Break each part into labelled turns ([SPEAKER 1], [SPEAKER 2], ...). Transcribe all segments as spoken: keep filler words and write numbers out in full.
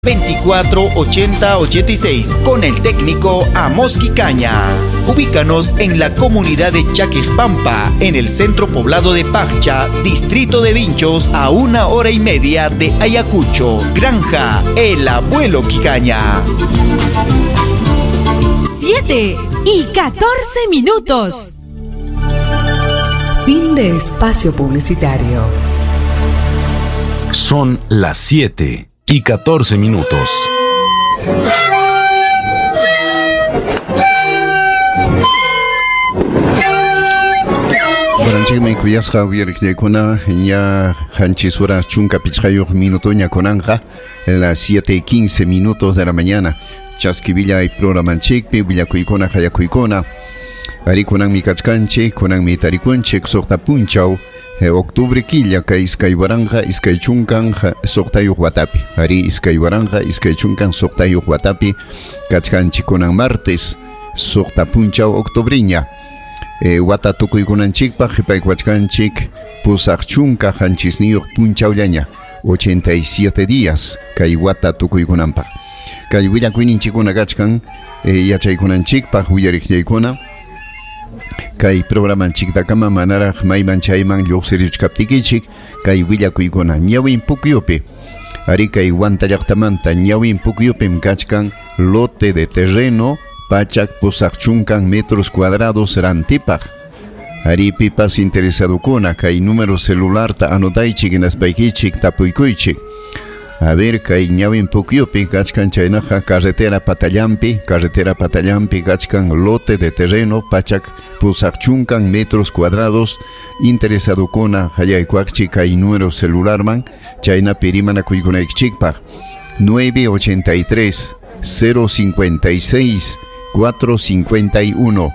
[SPEAKER 1] veinticuatro ochenta ochenta y seis con el técnico Amos Quicaña. Ubícanos en la comunidad de Chaquejpampa, en el centro poblado de Paccha, distrito de Vinchos, a una hora y media de Ayacucho. Granja El Abuelo Quicaña.
[SPEAKER 2] siete y catorce minutos.
[SPEAKER 3] Fin de espacio publicitario.
[SPEAKER 4] Son las siete y catorce minutos.
[SPEAKER 5] Baranchikmi kuyasqa uyariqllaykuna ña qanchis horas chunka pichqayuq minutoña kunanqa, las siete y quince minutos de la mañana. Chaskivillay programanchikpi willakuykuna qallakuykuna. Ari kunanmi kachkanchik, kunanmi tarikunchik suqta punchaw octubre killa kay iskay waranqa iskay chunkan suqtayuq watapi. Ari iskay waranqa iskay chunkan suqtayuq watapi kachkanchik kunan martes suqta punchaw octubriña. E, wata tukuykunanchikpaq qhipaykuwachkanchik pusaq chunka qanchisniyuq punchawllaña, ochenta y siete días kay wata tukuykunanpaq. Kay willakuyninchikkuna kachkan e, yachaykunanchikpaq willariqllaykuna. Kay programanchiktakama manaraq mayman chayman lluqsirichkaptikichik kay willakuykuna ñawin pukyupi. Ari kay Huanta llaqtamanta ñawin pukyupim kachkan lote de terreno pachak pusaq chunkan metros cuadrados rantipaq. Ari pipas interesadukuna kay número celularta anotaychik hinaspaykichik tapuykuychik. A ver, kay ñawin pukyupi kachkan chaynaqa carretera Patallampi, carretera Patallampi kachkan lote de terreno pachak pusaq chunkan metros cuadrados. Interesadukuna hayaykuaqchik kay número celularman chaynapi rimanakuykunaykichikpaq nueve ochenta y tres cero cincuenta y seis cuatro cincuenta y uno,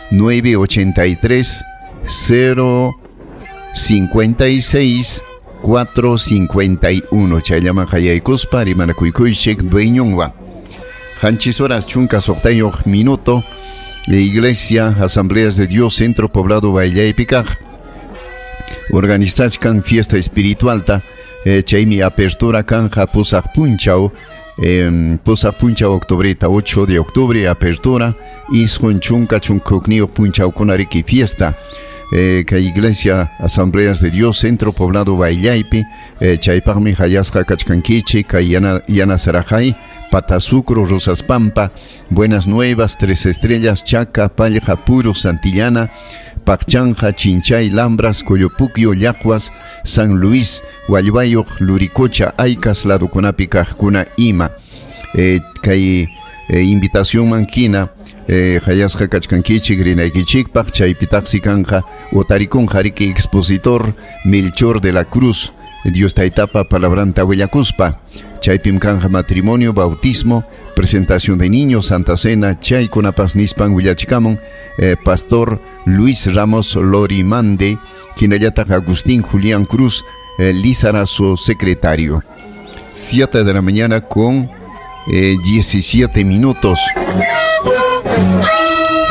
[SPEAKER 5] nueve ochenta y tres cero cincuenta y seis cuatro cincuenta y uno. Chayllaman hayaykuspa rimanakuychik dueñonwan. Qanchis horas chunka suqtayuq minuto. La Iglesia Asambleas de Dios Centro Poblado Baillaypikaq organizachkan fiesta espiritualta. Eh, chaymi apertura kanja pusaq punchaw, eh, pusaq punchaw octubreta, ocho de octubre apertura, isqun chunka chunkukniyuq punchawkunariki fiesta. Eh, kay Iglesia Asambleas de Dios Centro Poblado Baillaypi, eh, chaypaqmi hayasqa kachkankichik kay yana, yana Sarajay, Patasucro, Rosas Pampa, Buenas Nuevas, Tres Estrellas, Chaca, Pallja, Puro, Santillana, Pacchanja, Chinchay, Lambras, Coyopuquio, Llajuas, San Luis, Hualluayuq, Luricocha, Aycas, ladukunapi kaqkuna ima. Eh, kay eh, invitación mankina eh, hayasqa kachkankichik rinaykichikpaq chaypitaqsi kanja otarikunqa riki expositor Melchor de la Cruz, Dios taytapa palabranta willakuspa. Chaypim kanja matrimonio, bautismo, presentación de niños, Santa Cena, chaykunapas nispan willachikamun eh, Pastor Luis Ramos Lorimande, hinallataq Agustín Julián Cruz, eh, Lizarazo secretario. Siete de la mañana con eh, diecisiete minutos.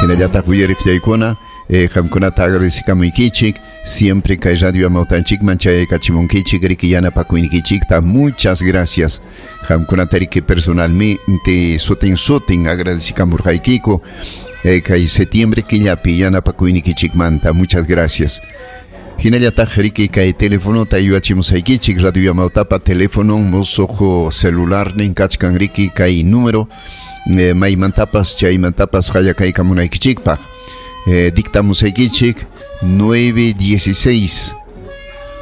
[SPEAKER 5] Hinallataq willariqllaykuna, eh, qamkunata agradecikamuykichik, siempre kay radio amawtanchikman chayaykachimunkichik riki yanapakuynikichikta. Muchas gracias. Qamkunata riki personalmente sutin sutin agradecikamurqaykiku, eh, kay septiembre killapi yanapakuynikichikmanta. Muchas gracias. Hinallataq riki kay telefonota yuyachimusaykichik, radio amawtapa teléfono musuq celularnin kachkan riki kay número, eh, maymantapas chaymantapas qallakaykamunaykichikpaq. Eh, dictamusaykichik nueve dieciséis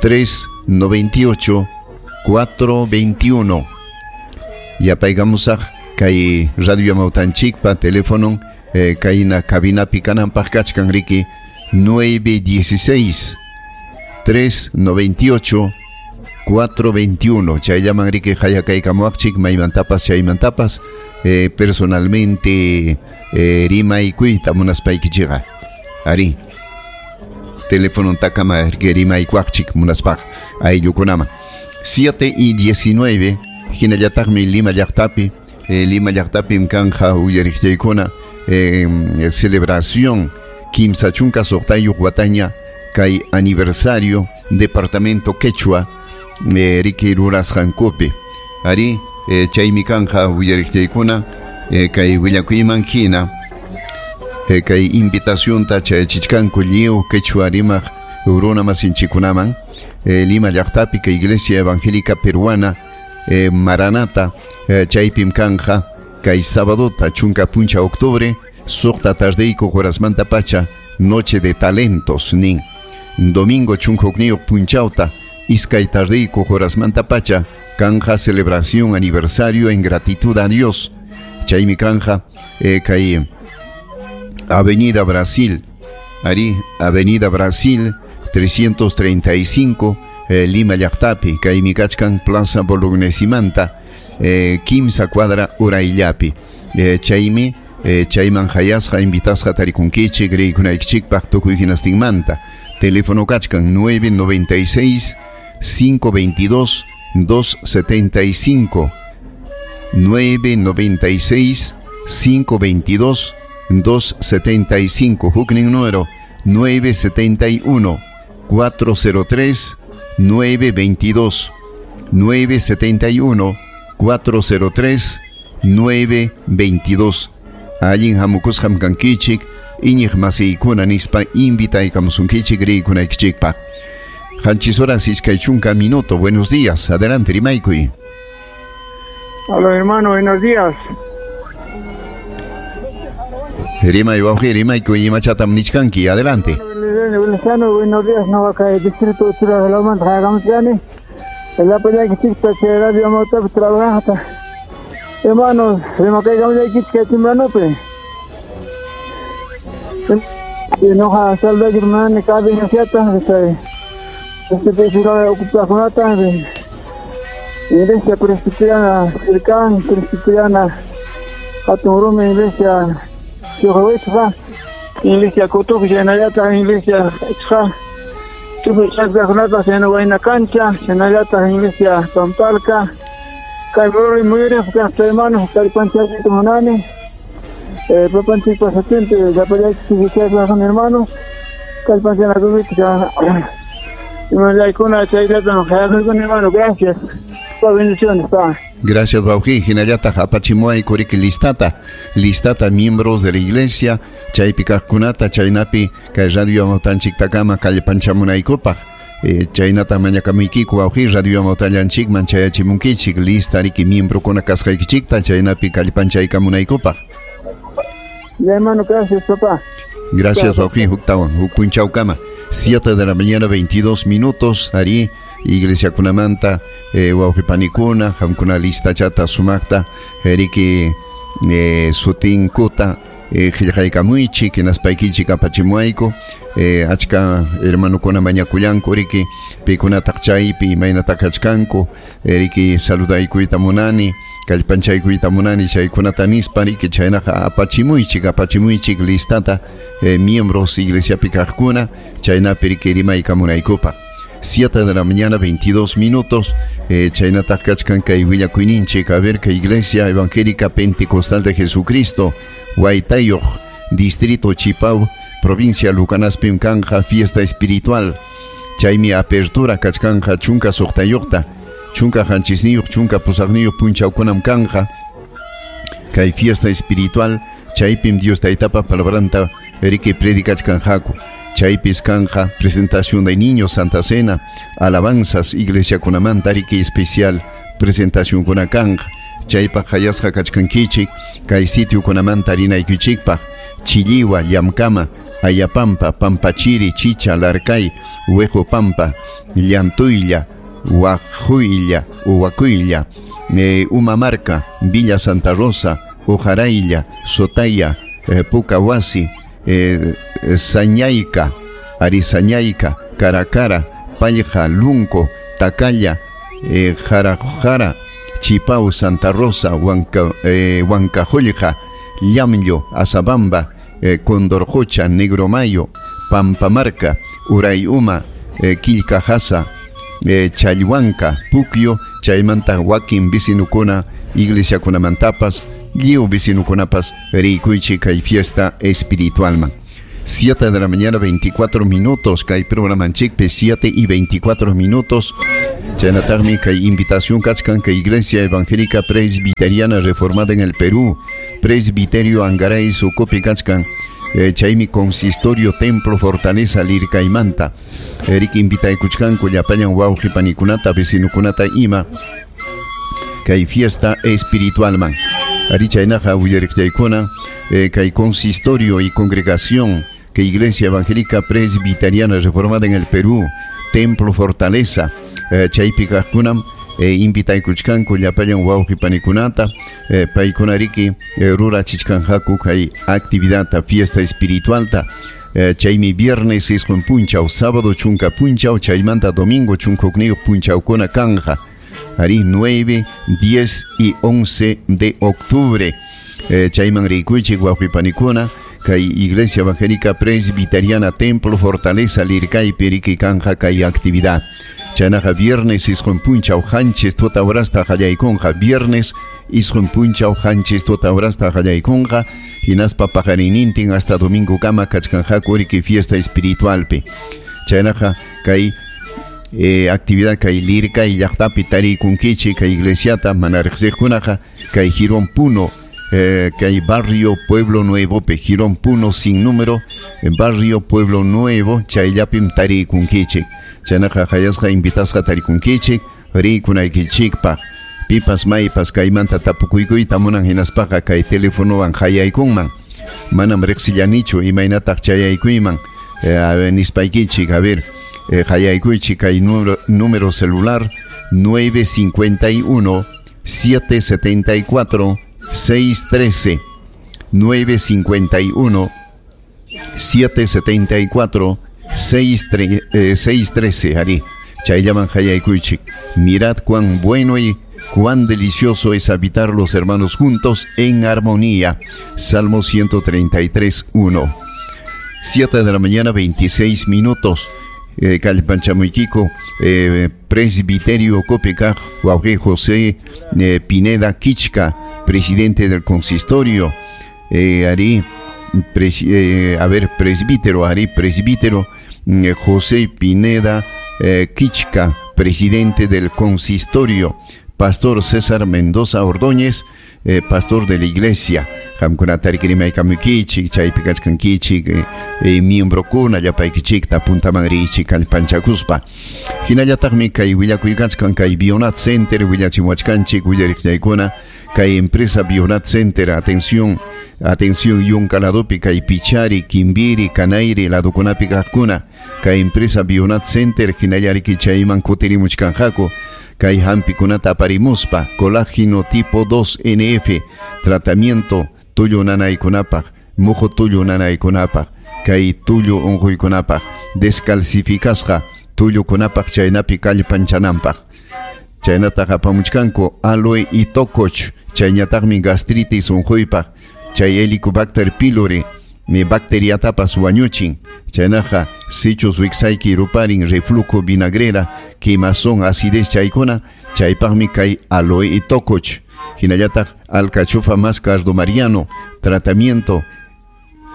[SPEAKER 5] tres noventa y ocho cuatro veintiuno. Yapaykamusaq kay radio amawtanchikpa teléfono, eh, kayna cabinapi kananpaq kachkan riki nueve dieciséis tres noventa y ocho cuatro veintiuno. Chayllaman riki hayakaykamuaqchik maymantapas chaymantapas, eh, personalmente, eh, rimaykuyta munaspaykichikqa. Ari teléfono takama rimaykuaqchik munaspaq ayllukunaman. Siete y diecinueve hinallataqmi Lima llaqtapi, eh, Lima llaqtapim kanja uyariqllaykuna, eh, celebración kimsa chunka suqtayuq wataña kay aniversario departamento Quechua, eh, riki rurasqankupi. Ari eh, chaymi kanja uyariqtiykuna eh, kay willakuyman hina eh, kay invitacionta chayachichkanku lliw quechua rimaq runa masinchikunaman eh, Lima llaqtapi kay Iglesia Evangélica Peruana eh, Maranata eh, chaypim kanja kay sabadota chunka puncha octubre suqta tardeyku horasmanta pacha noche de talentos nin domingo chunka hukniyuq punchawta iskay tardeyku horasmanta pacha kanja celebración aniversario en gratitud a Dios chaymi kanja eh, kay Avenida Brasil ari Avenida Brasil trescientos treinta y cinco eh, Lima llaqtapi kaymi kachkan Plaza Bolognesimanta eh, kimsa cuadra urayllapi eh, chaymi eh, chayman hayasqa invitasqa tarikunkichik riykunaykichikpaq tukuy hinastinmanta teléfono kachkan nueve noventa y seis, cinco veintidós, dos setenta y cinco nueve noventa y seis, cinco veintidós, dos setenta y cinco huknin número nueve setenta y uno, cuatro cero tres, nueve veintidós nueve setenta y uno, cuatro cero tres, nueve veintidós allin hamukusqam kankichik iñiq masiykuna nispa invitaykamusunkichik riykunaykichikpaq. Qanchis horas iskay chunka minuto. Buenos días, adelante rimaykuy.
[SPEAKER 6] Hola hermano, buenos días.
[SPEAKER 5] Rimay wawqi, rimaykuy, imachatam nichkanki, adelante.
[SPEAKER 6] Buenos días, no acá el distrito de Churajalaman, Jagamsiani. El apoyo que radio Amauta trabaja. Hermanos, rimakaykamuyaykichik kay timbranopi. Noqa saludayki hermano, cada iniciata, este este ocupakunata, Iglesia Presbiteriana Sircan, Presbiteriana Atunrumi, Iglesia Yojahuichja, Iglesia Cotuj, Shenayata, Iglesia Ichja, Tujuchakkunata, Shenahuayna Cancha, Shenayata, Iglesia Pampalca, Kaymuri Muyuri, hermanos, Kallpanchayta munani, eh, papanchik pasatiempo, llapallayki hermanos, kallpanchanakupiqa, hermano, gracias. Bendiciones, pa.
[SPEAKER 5] Gracias, wawqi. Hinallataq apachimuay kuriki listata, listata miembros de la iglesia, chaypi kaqkunata, chaynapi kay radio Amautanchiktakama kallpanchamunaykupaq. Eh, chaynata mañakamuykiku wawqi radio Amautallanchikman chayachimunkichik lista riki miembrokuna kasqaykichikta chaynapi kallpanchaykamunaykupaq.
[SPEAKER 6] Ya, hermano, gracias, papá.
[SPEAKER 5] Gracias, wawqi, huktawan, huk punchawkama. Siete de la mañana, veintidós minutos, ari iglesia kunamanta, eh, wawqipanikuna, qamkuna listachata sumaqta, riki eh, sutinkuta, eh, qillqaykamuychik, hinaspaykichik apachimuayku, eh, achka hermanukuna mañakullanku, riki pikunataq chaypi imaynataq kachkanku, eh, riki saludaykuyta munani, kallpanchaykuyta munani chaykunata nispa, riki chaynaqa apachimuychik, apachimuychik listata, eh, miembros iglesiapi kaqkuna, chaynapi riki rimaykamunaykupaq. siete de la mañana, veintidós minutos. Eh, chaynataq kachkan kay willakuyninchik, a ver, que Iglesia Evangélica Pentecostal de Jesucristo, Huaytayuq, Distrito Chipau, provincia Lucanaspim kanja, fiesta espiritual. Chaymi apertura kachkanja chunka suqtayuqta, chunka qanchisniyuq, chunka pusaqniyuq punchawkunam kanja. Kay fiesta espiritual, chaypim Dios taytapa palabranta riki predikachkanjaku. Chaypis kanja, presentación de niños, Santa Cena, alabanzas, iglesia kunamanta, riki especial, presentación kuna kanja. Chaypaq hayasqa kachkankichik, kay sitio kunamanta rinaykichikpaq, Chilliwa, Llamkama, Ayapampa, Pampachiri, Chicha, Larcay, Huejopampa, Llantuylla, Huajuylla, Huacuylla, eh, Umamarca, Villa Santa Rosa, Ujaraylla, Sotaya, eh, Pucahuasi, eh, Sañayca, Arisañayca, Caracara, Palja, Lunco, Tacalla, eh, Jarajara, Chipau, Santa Rosa, Huanca, eh, Huancajollja, Llamllo, Azabamba, eh, Condorjocha, Negromayo, Pampamarca, Urayuma, eh, Quilcajasa, eh, Chayhuanca, Puquio, chaymanta wakin vicinukuna, iglesia kunamantapas, lliw vecinukunapas rikuychik kay fiesta espiritualman. siete de la mañana veinticuatro minutos, kay programanchikpi siete y veinticuatro minutos. Chaynataqmi kay invitación kachkan kay Iglesia Evangélica Presbiteriana Reformada en el Perú, Presbiterio Angaray sukupi kachkan, eh, chaymi Consistorio Templo Fortaleza Lircaymanta. Eric invitaykuchkanku llapallan wawqi panikunata vecinukunata ima kay fiesta espiritualman. Ari chaynaqa willariqllaykuna eh, kay Consistorio y Congregación que Iglesia Evangélica Presbiteriana Reformada en el Perú, Templo Fortaleza, eh, chaypi kaqkunam eh, invitaykuchkanku llapallan wawqi panikunata, eh, paykunariki eh, rurachichkanqaku kay actividadta fiesta espiritualta. Eh, chaymi viernes isqun punchaw, sábado chunka punchaw, chaymanta domingo chunka hukniyuq punchawkuna kanja. Ari nueve, diez y once de octubre. Eh, chayman rikuychik wawqi panikuna kay Iglesia Evangélica Presbiteriana Templo Fortaleza Lircaypi riki kanja kay actividad. Chaynaqa viernes isqun punchaw qanchis tuta horasta qallaykunqa, viernes isqun punchaw qanchis tuta horasta qallaykunqa, hinaspa paqarinnintin hasta domingo kama kachkanqaku riki fiesta espiritualpi. Chaynaqa kay eh, actividad kay Lircay llaqtapi tarikunkichik kay iglesiata mana riqsiqkunaqa kay Jirón Puno, eh, kay barrio Pueblo Nuevo pe Jirón Puno sin número, en barrio Pueblo Nuevo chayllapim tarikunkichik. Chaynaqa hayasqa invitasqa tarikunkichik rikunaykichikpaq. Pipas maypas kaymanta tapukuykuyta munan hinaspaqa kay telefonowan hayaykunman. Manam riqsillanichu imaynataq chayaykuyman, eh, nispaykichik, a ver, eh, hayaykuychik kay número, número celular nueve cincuenta y uno, siete setenta y cuatro, seis trece, nueve cincuenta y uno, siete setenta y cuatro, seis trece, ari. Chayllaman hayaykuychik. Mirad cuán bueno y cuán delicioso es habitar los hermanos juntos en armonía. Salmo ciento treinta y tres, uno. siete de la mañana, veintiséis minutos. Eh, Kallpanchamuykiko, eh, Presbiterio Copecaj, Wauge José eh, Pineda Kichka, presidente del consistorio. Eh, Ari, pres, eh, a ver, presbítero, Ari, presbítero, eh, José Pineda eh, Kichka, presidente del consistorio. Pastor César Mendoza Ordóñez, eh, pastor de la iglesia. Qamkunatarikirimaykamukichik, chaypi kachkankichik, eh, eh, miembrokuna llapaykichikta puntaman riychik kallpanchakuspa. Hinallataqmi kay willakuykachkan kay Bionat Center willachimuwachkanchik willariqllaykuna kay empresa Bionat Center, atención, atención yunka ladopi kay Pichari, Kimbiri, Kanairi ladokunapi kaqkuna kay empresa Bionat Center hinallariki chayman kutirimuchkanqaku kay hampikunata aparimuspa colágeno tipo dos N F, tratamiento tullu nanaykunapaq, muhu tullu nanaykunapaq, kay tullu unquykunapaq, descalcificasqa tullukunapaq chaynapi kallpanchananpaq. Chaynataq apamuchkanku aloe y tococh, chayñataqmi gastritis unquypaq, chay Helicobacter pylori mi bacteriatapas wañuchin. Chaynaqa sichus wiksayki ruparin reflujo vinagrera, quemazón, acidez chaykuna, chaypaqmi kay aloe y tococh. Hinallataq alcachofa más cardo mariano, tratamiento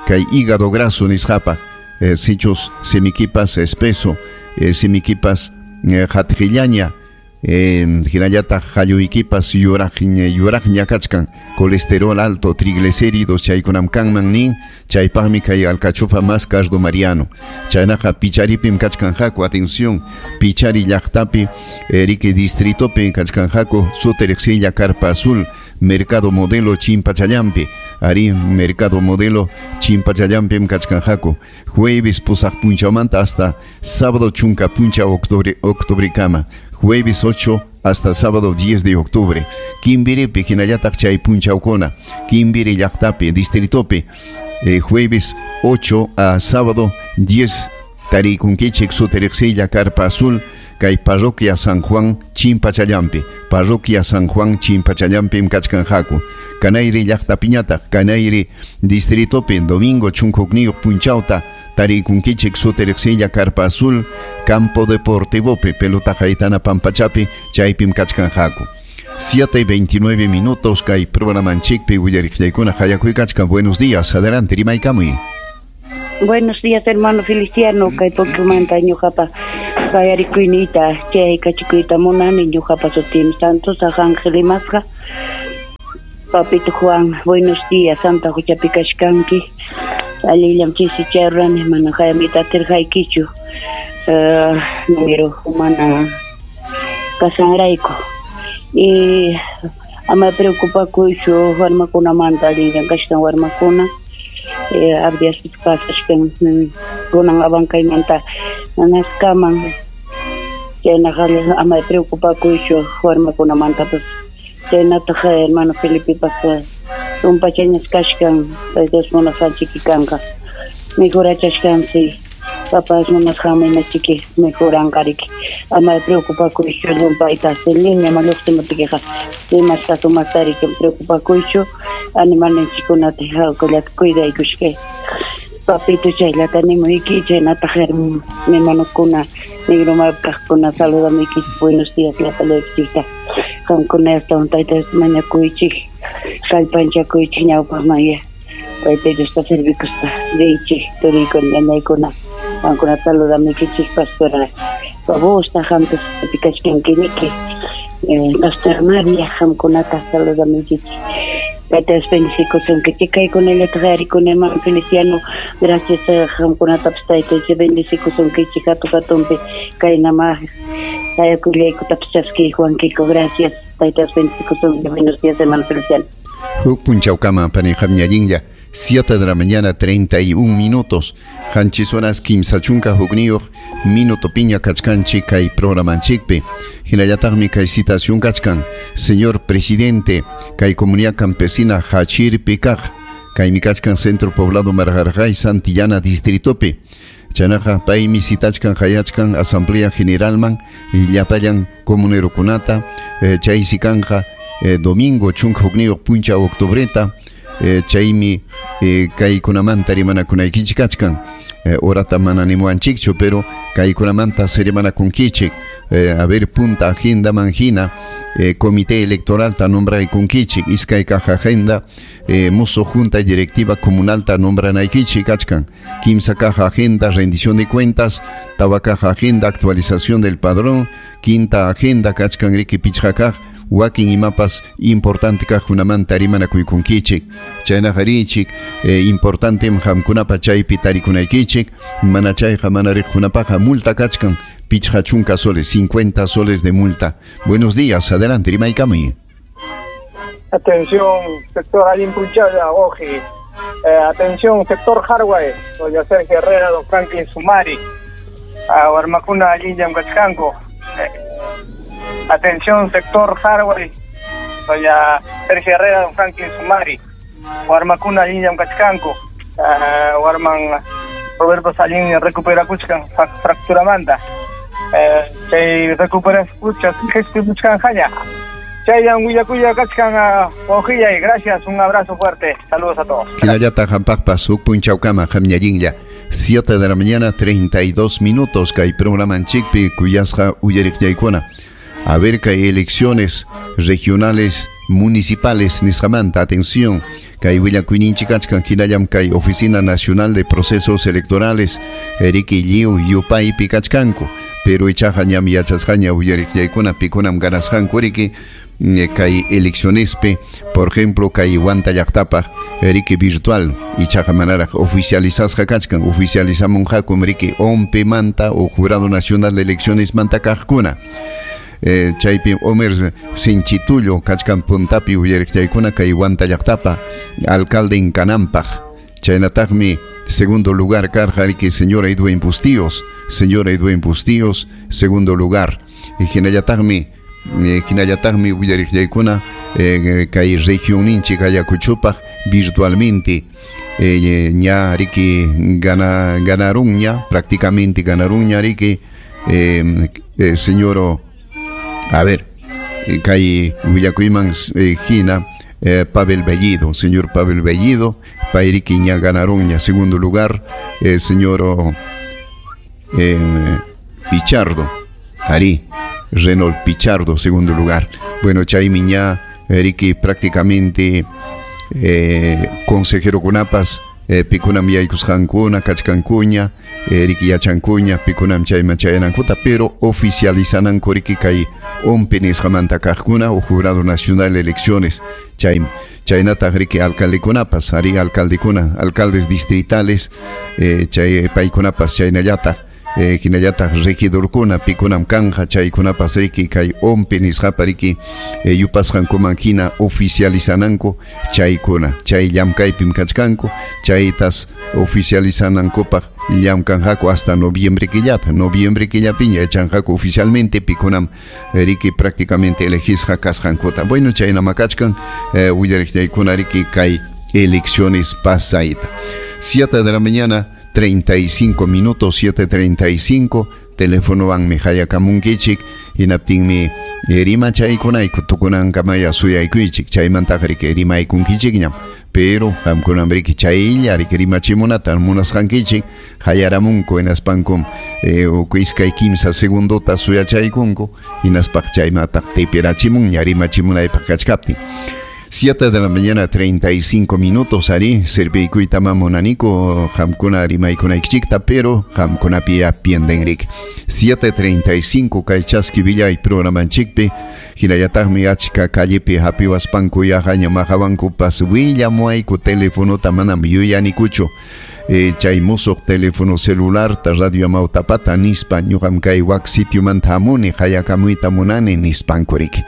[SPEAKER 5] kay hígado graso nisqapaq, eh, sichus semikipas espeso, eh, semikipas eh, hatqillaña, eh, hinallataq qalluykipas yuraq yuraqña kachkan, colesterol alto, triglicéridos chaykunam kanman nin, chaypaqmi kay alcachofa más cardo mariano. Chaynaqa Picharipim kachkanqaku, atención, Pichari llaqtapi, Erique distritopi kachkanqaku, Suteriqsilla Carpa Azul, Mercado Modelo Chimpachallampi, ari Mercado Modelo Chimpachallampim kachkanqaku, jueves pusaq punchawmanta hasta sábado chunka punchaw octubre, octubrekama. Jueves ocho hasta sábado diez de octubre. Kimbiripi hinallataq chay punchawkuna, Kimbiri llaqtapi, distritopi, eh, jueves ocho a sábado diez tarikunkichik Suteriqsilla Carpa Azul, kay Parroquia San Juan Chimpachallampi, Parroquia San Juan Chimpachallampim kachkanqaku. Kanayri llaqtapiñataq, Kanayri distritopi, domingo chunka hukniyuq punchawta tarikunkichik Suteriqsilla Carpa Azul, Campo Deportivopi, pelota haytana pampachapi, chaypim kachkanqaku. siete y veintinueve minutos, kay programanchikpi willariqllaykuna hayakuykachkan. Buenos días, adelante, rimaykamuy.
[SPEAKER 7] Buenos días, hermano Feliciano, kay Pokemanta ñuqapa qayarikuyniyta chay kachikuyta munani ñuqapa sutim Santos Ángel Imasqa. Papito Juan, buenos días, Santa Huchapi kachkanki. Allillam chisi chayrani mana hayamita atirqaykichu. Uh, número mana kasanrayku. Y ama preocupakuychu warmakunamanta allillam kachkan warmakuna. Eh, abdias pasachkan kunan abankaymanta nanaskaman chaynaqa ama preocupakuychu warmakunamantapas chaynataq hermano Felipepas tumpachañas kachkan Dios munasqanchiki kanqa mejorachachkansi papas munasqanmi chiki mejoranqariki ama preocupakuychu llumpayta línea lluqsimuptikiqa imasta sumastariki preocupakuychu animalninchikkunata hawkallata cuidaykushkay papito chayllata nimuyki chaynataq hermanokuna negromapi kaqkuna saludamuykichik buenos días llapallaykichikta qamkuna astawan tayta Diosta mañakuychik kallpanchakuychik ñawpaqmanya tayta Diosta servikuspa riychik turiykuna ñañaykuna qamkuna saludamuykichik pastora Babosta qampas kachkankiniki Pastor María qamkunata saludamuykichik Tayta Dios bendecikusunkichik kaykunallata qarikuna hermano Feliciano gracias qamkunatapas tayta Dios bendecikusunkichik hatun hatunpi kaynama sayakullaykutapas chaskiykuwankiku gracias tayta Dios bendecikusunki buenos días hermano Feliciano.
[SPEAKER 5] Huk punchawkama panijam ñallinlla siete de la mañana treinta y un minutos qanchis horas kimsa chunka hukniyuq minuto piña kachkanchik kay programanchikpi hinallataqmi kay citación kachkan señor presidente kay comunidad campesina Hachirpi kaq kaymi kachkan centro poblado Marjarjay Santillana distritopi chaynaqa paymi citachkan hayachkan asamblea generalman llapallan comunerokunata eh, chaysi kanja eh, domingo chunka hukniyuq puncha octubreta eh, chaymi eh, kaykunamanta rimanakunaykichik kachkan eh, horata mana nimuwanchikchu pero kaykunamanta rimanakunkichik eh, a ver punta agenda manjina eh, comité electoral ta nombraykunkichik iskay kaq agenda eh, musuq junta directiva comunal ta nombranaykichik kachkan kimsa kaq agenda rendición de cuentas tawa kaq agenda actualización del padrón quinta agenda kachkan riki pichqa kaq wakin imapas importante kaqkunamanta rimanakuykunkichik chaynaqa richik eh, importantem qamkunapa chaypi tarikunaykichik mana chayqa mana riqkunapaqa multa kachkan pichqa chunka soles cincuenta soles de multa. Buenos días, adelante rimaykamuy.
[SPEAKER 6] Atención sector Alimpuchaya, Oji. Eh, atención sector Harway, doña Sergio Herrera, don Franklin Sumari, a warmakuna allinllam kachkanku. Eh, atención sector Harway, doña Sergio Herrera, don Franklin Sumari, warmakuna allinllam kachkanku. Uh, warman Roberto Salín recuperakuchkan fracturamanta. Eh, chay recuperakuchkan qhispimuchkanqaña. Chayan willakuya kachkan wawqillay, gracias, un abrazo fuerte, saludos a todos.
[SPEAKER 5] Hinallataq qampaqpas huk punchawkama qamñallinlla siete de la mañana treinta y dos minutos kay programanchikpi kuyasqa uyariqllaykuna. A ver kay elecciones regionales municipales nisqamanta, atención, kay willakuyninchik kachkan hinallam kay Oficina Nacional de Procesos Electorales riki lliw yupaypi kachkanku pero ichaqa ñam yachasqaña uyariqllaykuna pikunam ganasqanku riki kay eleccionespi, por ejemplo kay Huanta llaqtapaq riki virtual ichaqa manaraq oficializasqa kachkan oficializamunqakum riki O M P manta o Jurado Nacional de Elecciones manta kaqkuna. Eh, chaypi Homer Sinchitullo kachkan puntapi uyariqllaykuna kay Huanta llaqtapa alcalde en Kanampaq chaynataqmi segundo lugar karqa riki señora Edwin Bustíos señora Edwin Bustíos segundo lugar hinallataqmi eh, hinallataqmi uyariqllaykuna eh, kay regionninchik Ayacuchupaq virtualmente eh, ña riki gana, ganaron ña prácticamente ganaron ña riki eh, eh, señor a ver, kay willakuyman eh, hina eh, Pavel Bellido, señor Pavel Bellido, payriki ña ganaron ña segundo lugar, eh, señor eh, Pichardo, Ari, Reynold Pichardo, segundo lugar. Bueno, chaymi ña riki prácticamente eh, consejero kunapas eh, pikunam yaykusqankuna kachkankuña eh, riki yachankuña pikunam chayman chayanankuta pero oficializananku riki kay ONPE nisqamanta kaqkuna o Jurado Nacional de Elecciones chay chaynataq riki alcaldekunapas ari alcaldekuna alcaldes distritales eh, chay paykunapas chaynallataq eh, hinallataq regidorkuna pikunam kanja chaykunapas riki kay ONPE nisqapa riki eh, yupasqankuman hina oficializananku chaykuna chay llamkaypim kachkanku chaytas oficializanankupaq llamkanqaku hasta noviembre killata noviembre killapiña yachanqaku oficialmente pikunam riki prácticamente elegisqa kasqankuta. Bueno, chaynama kachkan eh, willariqllaykuna riki kay elecciones pasayta. siete de la mañana treinta y cinco minutos, siete treinta y cinco, teléfonowanmi hayakamunkichik, hinaptinmi rimachaykunayku tukunankamaya suyaykuychik, chaymantaqa riki rimaykunkichikñam, pero qamkunam riki chaylla riki rimachimunata munasqankichik, hayaramunku hinaspankum eh, iskay kimsa segundota suyachaykunku, hinaspaq chaymataq tipirachimunña rimachimunaypaq kachkaptin. siete de la mañana, treinta y cinco minutos, ari, serviykuyta mamunaniku, qamkuna rimaykunaykichikta, pero qamkunapi apienden rik. siete treinta y cinco, kay chaski villay programanchikpi, hinallataqmi achka callepi hapiwaspanku yaqaña maqawankupas willamuayku telefonota manam yuyanikuchu. Eh, chay musuq teléfono celular ta radio Amawtapata nispa ñuqam kay wak sitiomanta hamuni hayakamuyta munani nispanku rik.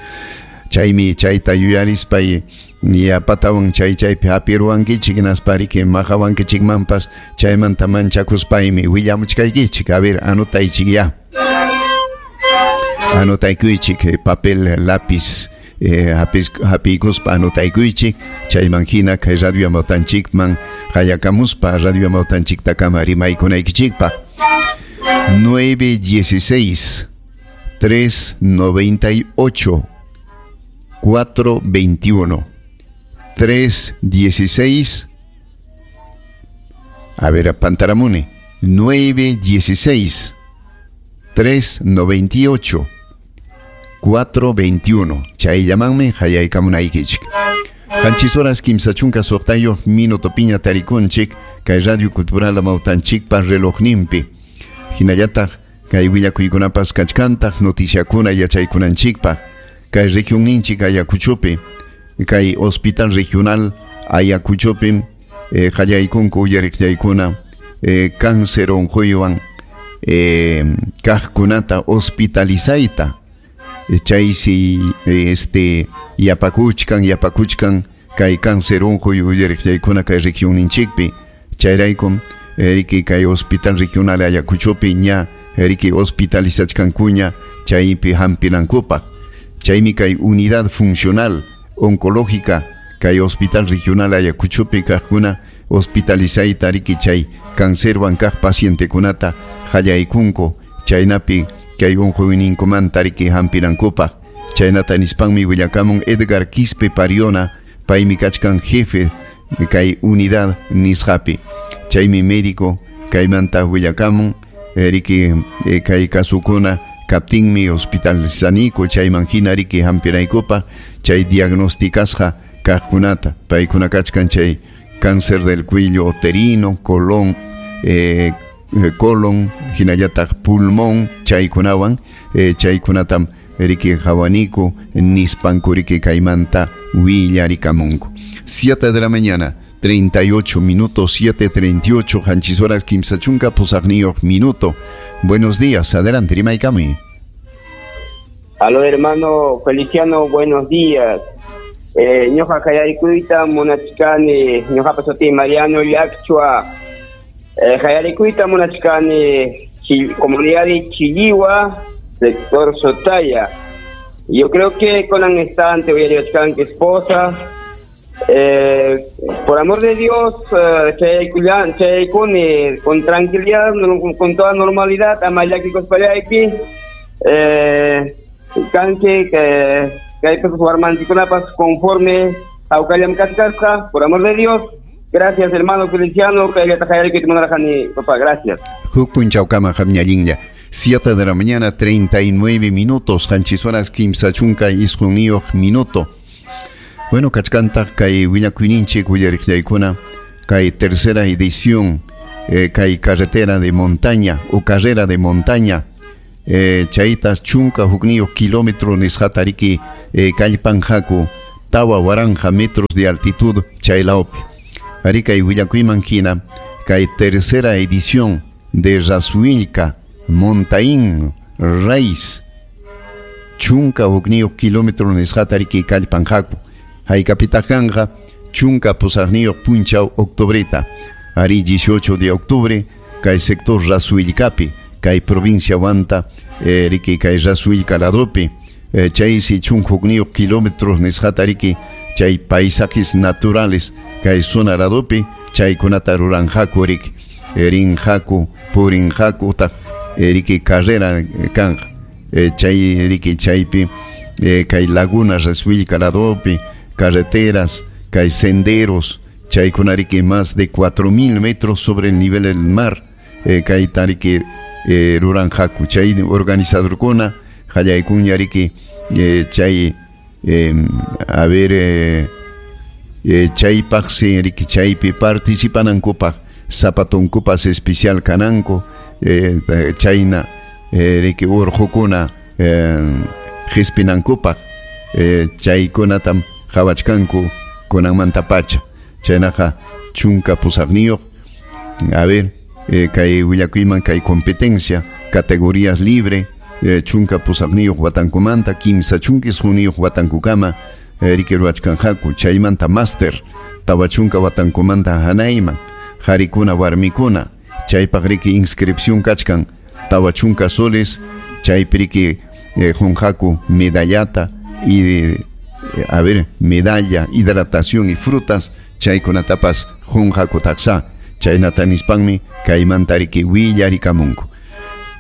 [SPEAKER 5] Chaymi chayta yuyarispay yapatawan chay chaypi hapiruwankichik hinaspa riki maqawankichikmanpas chaymanta manchakuspaymi willamuchkaykichik. A ver, anotaychik ya. Anotaykuychik papel, lápiz, eh, hapiykuspa anotaykuychik chayman hina kay radio Amawtanchikman hayakamuspa radio Amawtanchiktakama rimaykunaykichikpaq. nueve dieciséis, tres noventa y ocho, cuatro veintiuno, tres dieciséis, a ver, Pantaramune, nueve dieciséis, tres noventa y ocho, cuatro veintiuno. Chay llamanme, hayaykamunaykichik. Qanchis horas kimsa chunka suqtayuq minuto piña tarikunchik, kay Radio Cultural Amawtanchikpa relojninpi. Hinallataq kay willakuykunapas kachkantaq noticiakuna yachaykunanchikpaq. Kay región ninchik Ayacuchopi, kay Hospital Regional Ayacuchopi, eh, qallaykunku uyariqllaykuna, eh, cáncer unquywan, eh, kaqkunata hospitalizayta, eh, chaysi este yapakuchkan yapakuchkan kay cáncer unquy uyariqllaykuna kay región ninchikpi, chayraykum eh, riki kay Hospital Regional Ayacuchopi ña riki hospitalizachkankuña chaypi hampinankupaq. Chaymi kay unidad funcional oncológica kay Hospital Regional Ayacuchopi kaqkuna hospitalizayta riki chay cáncerwan kaq pacientekunata qallaykunku chaynapi kay unquyninkumanta riki hampinankupaq. Chaynata nispanmi willakamun Edgar Quispe Pariona, paymi kachkan jefe kay unidad nisqapi. Chaymi médico kaymanta willakamun riki kay kasukuna kaptinmi hospitalizaniku chayman hina riki hampinaykupaq chay diagnosticasqa kaqkunata paykuna kachkan chay cáncer del cuello uterino, colon, eh, colon, hinallataq pulmón chaykunawan eh, chaykunatam riki qhawaniku nispanku riki kaymanta willarikamunku. siete de la mañana, treinta y ocho minutos, siete treinta y ocho, qanchis horas kimsa chunka pusaqniyuq minuto. Buenos días, adelante, rimaykami.
[SPEAKER 8] Aló, hermano Feliciano, buenos días. Eh, ñoqa hayarikuyta munachkani, ñoqapa suti Mariano Llaqchua. Eh, hayarikuyta munachkani, comunidad de Chilliwa, sector Sotaya. Yo creo que con el instante voy a que esposa. Eh, por amor de Dios, eh, con tranquilidad, con toda normalidad, amayaki kospayaki, eh, kanki que que hay que conforme a Ucayam Katkasca, por amor de Dios. Gracias, hermano Feliciano, que papá, gracias.
[SPEAKER 5] Huk punchawkama qamñallinlla. siete de la mañana, treinta y nueve minutos, qanchis horas kimsa chunka isqunniyuq minuto. Bueno, kachkantaq kay willakuyninchik willariqllaykuna Kay tercera edición eh, kay carretera de montaña o carrera de montaña eh, chaytas chunka hukniyuq kilómetro nisqata riki eh, kallpanqaku tawa waranqa metros de altitud chaylawpi. Ari kay willakuyman hina kay tercera edición de Rasuilca Montaín Race chunka hukniyuq kilómetro nisqata riki kallpanqaku. Haykapitaq kanqa chunka pusaqniyuq punchaw octubreta. Ari dieciocho de octubre kay sector Rasuilcapi kay provincia Huanta eh, riki kay Rasuilca ladopi eh, chaysi chunka hukniyuq kilómetros nisqata riki chay paisajes naturales kay zona ladopi chaykunata ruranqaku riki rinqaku purinqaku utaq riki carrera kanqa eh, chay riki chaypi eh, kay laguna Rasuilca ladopi carreteras kay senderos chaykuna riki más de cuatro mil metros sobre el nivel del mar eh, kay tariki eh, ruranqaku chay organizadorkuna qallaykuña riki eh, chay eh, a ver eh, eh, chaypaqsi riki chaypi participanankupaq zapatonkupas especial kananku eh, chayna eh, riki urqukuna eh, qispinankupaq eh, chaykunatam qhawachkanku kunanmanta pacha chaynaqa chunka pusaqniyuq a ver eh, kay willakuyman kay competencia categorías libre eh, chunka pusaqniyuq watankumanta kimsa chunka isquniyuq watankukama eh, riki ruwachkanqaku chaymanta máster tawa chunka watankumanta hanayman qarikuna warmikuna chaypaq riki inscripción kachkan tawa chunka soles chaypi riki eh, qunqaku medallata y eh, a ver medalla, hidratación y frutas chaykunatapas qunqaku taqsa chaynata nispanmi kaymanta riki willarikamunku.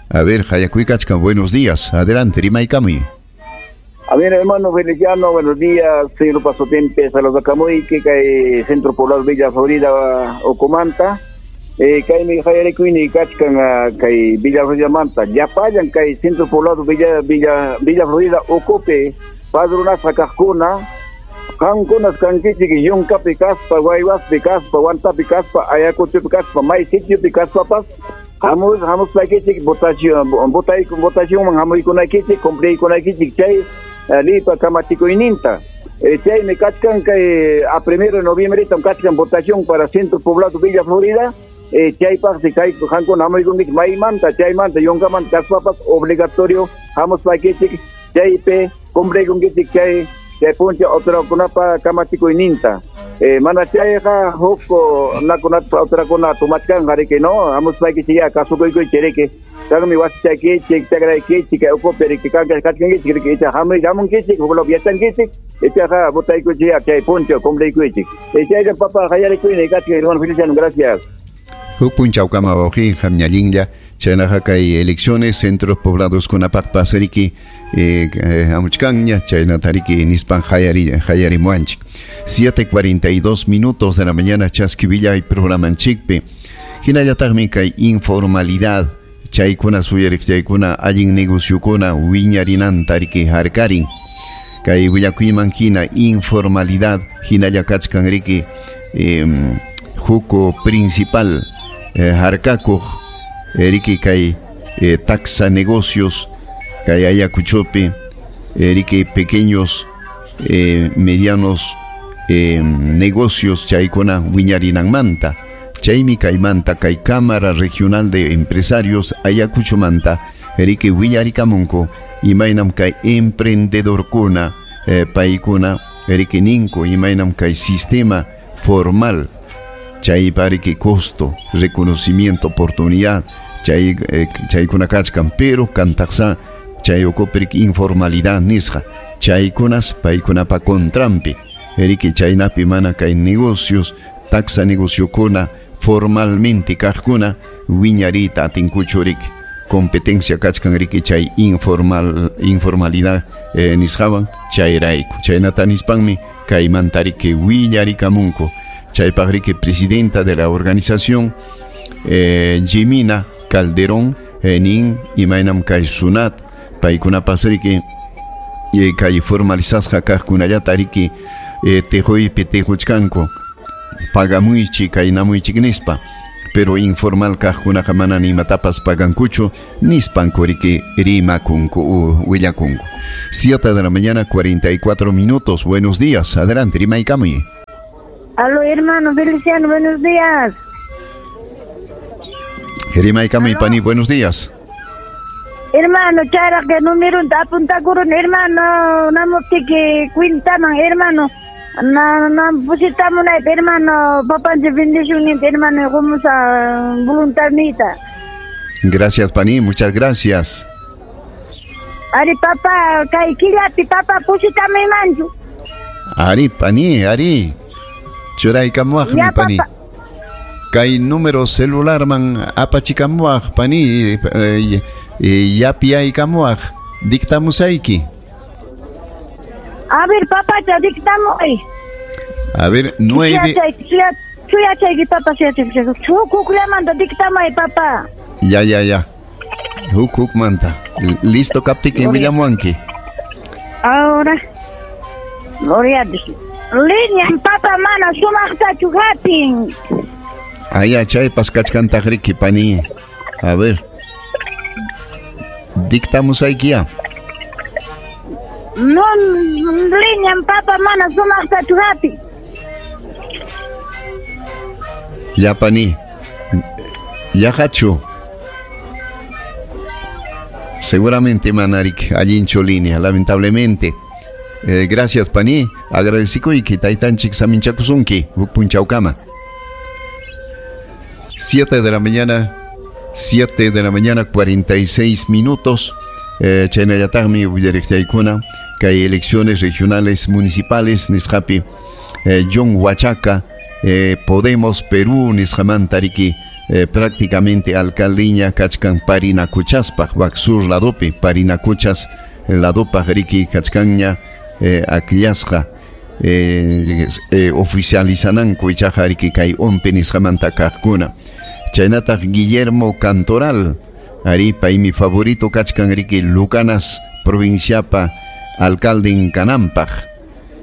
[SPEAKER 5] A ver, hayakuykachkan, buenos días, adelante, rimaykamuy.
[SPEAKER 6] A ver, hermano Feliciano, buenos días, señor Pasotempe, saludos a que kay Centro Poblado Villa Florida Ocomanta, eh, kay mi hayarikuyni kachkan kay Villa Florida manta, llapallan kay Centro Poblado Villa Villa Villa Florida Ocope, padrunasqa kaqkuna, qamkunas kankichik yunkapi kaspa, Guaywaspi kaspa, Huantapi kaspa, Ayacuchopi kaspa, may sitiopi kaspapas, hamus hamuspaykichik votación votay votacionman hamuykunaykichik cumpliykunaykichik chay lipa kamachikuyninta. Chaymi kachkan kay a primero de noviembre kachkan votación para Centro Poblado Villa Florida, chaypaqsi kay qankuna hamuykunkichik maymanta chaymanta yunkamanta kaspapas obligatorio hamuspaykichik chaypi cumpliykunkichik chay chay puncha otrakunapa kamachikuyninta. Eh, mana chayqa huk nakunata otrakuna tumachkanqa riki no hamuspaykichik ya kasukuykuy riki kanmi wasichaykichik chakraykichik kay ukupi riki kanka kachkankichik riki icha hamuy hamunkichik huklapi yachankichik ichaqa votaykuchik ya chay puncha cumpliykuchik. Chayqa papa qallarikuyni kachkan hermano Feliciano, gracias.
[SPEAKER 5] Huk punchawkama wawqi hamñallinlla chaynaqa kay elecciones centros poblados kunapaqpas riki eh, hamuchkanña chaynata riki nispan hayari hayarimuanchik. siete cuarenta y dos minutos de la mañana chaskivillay programanchikpi hinallataqmi kay informalidad chaykuna suyariq chaykuna allin negociokuna wiñarinanta riki harkarin kay willakuyman hina informalidad hinalla kachkan riki eh, huko principal eh, harkakuq riki kay eh, taxa negocios kay Ayacuchopi riki pequeños eh, medianos eh, negocios chaykuna wiñarinanmanta chaymi kaymanta kay Cámara Regional de Empresarios Ayacuchomanta riki willarikamunku imaynam kay emprendedorkuna eh, paykuna riki ninku imaynam kay sistema formal chaypa riki costo, reconocimiento, oportunidad chay eh, chaykuna kachkan pero kantaqsa chay ukupi riki informalidad nisqa chaykunas paykunapa contranpi riki chaynapi mana kay negocios taxa negociokuna formalmente kaqkuna wiñarita atinkuchu riki competencia kachkan riki chay informal informalidad eh, nisqawan chayrayku chaynata nispanmi kaymanta riki willarikamunku chaypaq riki presidenta de la organización eh, Jimina Calderón eh, nin imaynam kay SUNAT paykunapas riki eh, kay formalizasqa kaqkunallata riki eh, tejuypi tejuchkanku pagamuychik kaynamuychik nispa, pero informal kaqkunaqa mana imatapas pagankuchu nispanku riki rimakunku willakunku. Siete de la mañana, cuarenta y cuatro minutos. Buenos días, adelante, rimaykamuy.
[SPEAKER 9] Aló, hermano Feliciano, buenos días.
[SPEAKER 5] Rimaykamuy, pani, buenos días.
[SPEAKER 9] Hermano, charaq número apuntakurun, hermano, namuptiki cuintaman, hermano. Na na pusitamunayta, hermano, papanchik bendicionninta, hermano, qumusa voluntadniyta.
[SPEAKER 5] Gracias, pani, muchas gracias.
[SPEAKER 9] Ari, papá, kay killapi, papá, pusitamaymanchu.
[SPEAKER 5] Ari, pani, ari. Churaykamuwaqmi, pani. Kay número celularman apachikamuwaq, pani, eh, yapiyaykamuwaq, dictamusayki.
[SPEAKER 9] A ver, papacha, dictamuy.
[SPEAKER 5] A ver, nueve.
[SPEAKER 9] Chuyachayki, papá, chuyachayki. Huk hukllamanta dictamuy, papá.
[SPEAKER 5] Ya, ya, ya. Huk hukmanta. Listo, kaptiki, willamuwanki.
[SPEAKER 9] Ahora. Gloria a Dios. Línea, papá, mana, sumaqtachu hapin.
[SPEAKER 5] Aya, chaypas kachkantaq riki, pani. A ver. Dictamusayki ya.
[SPEAKER 9] No, línea, papá, mana, sumaqtachu hapin.
[SPEAKER 5] Ya, pani. Ya, hachu. Seguramente, manarik, allinchu línea, lamentablemente. Eh, gracias, pani. Agradecikuyki, taytanchik saminchakusunki, huk punchawkama. Siete de la mañana, siete de la mañana, cuarenta y seis minutos. Eh, chaynallataqmi willariqtaykuna kay elecciones regionales municipales nisqapi eh, John Huachaca, eh, Podemos Perú nisqamanta riki eh, prácticamente alcaldiña kachkan Parinacochaspaq, wak sur ladopi Parinacochas ladopaq riki kachkanña eh, akllasqa eh, eh, oficializananku ichaqa riki kay O M P nisqamanta kaqkuna. Chaynataq Guillermo Cantoral, ari paymi favorito kachkan riki Lucanas provinciapa alcalde kanampaq,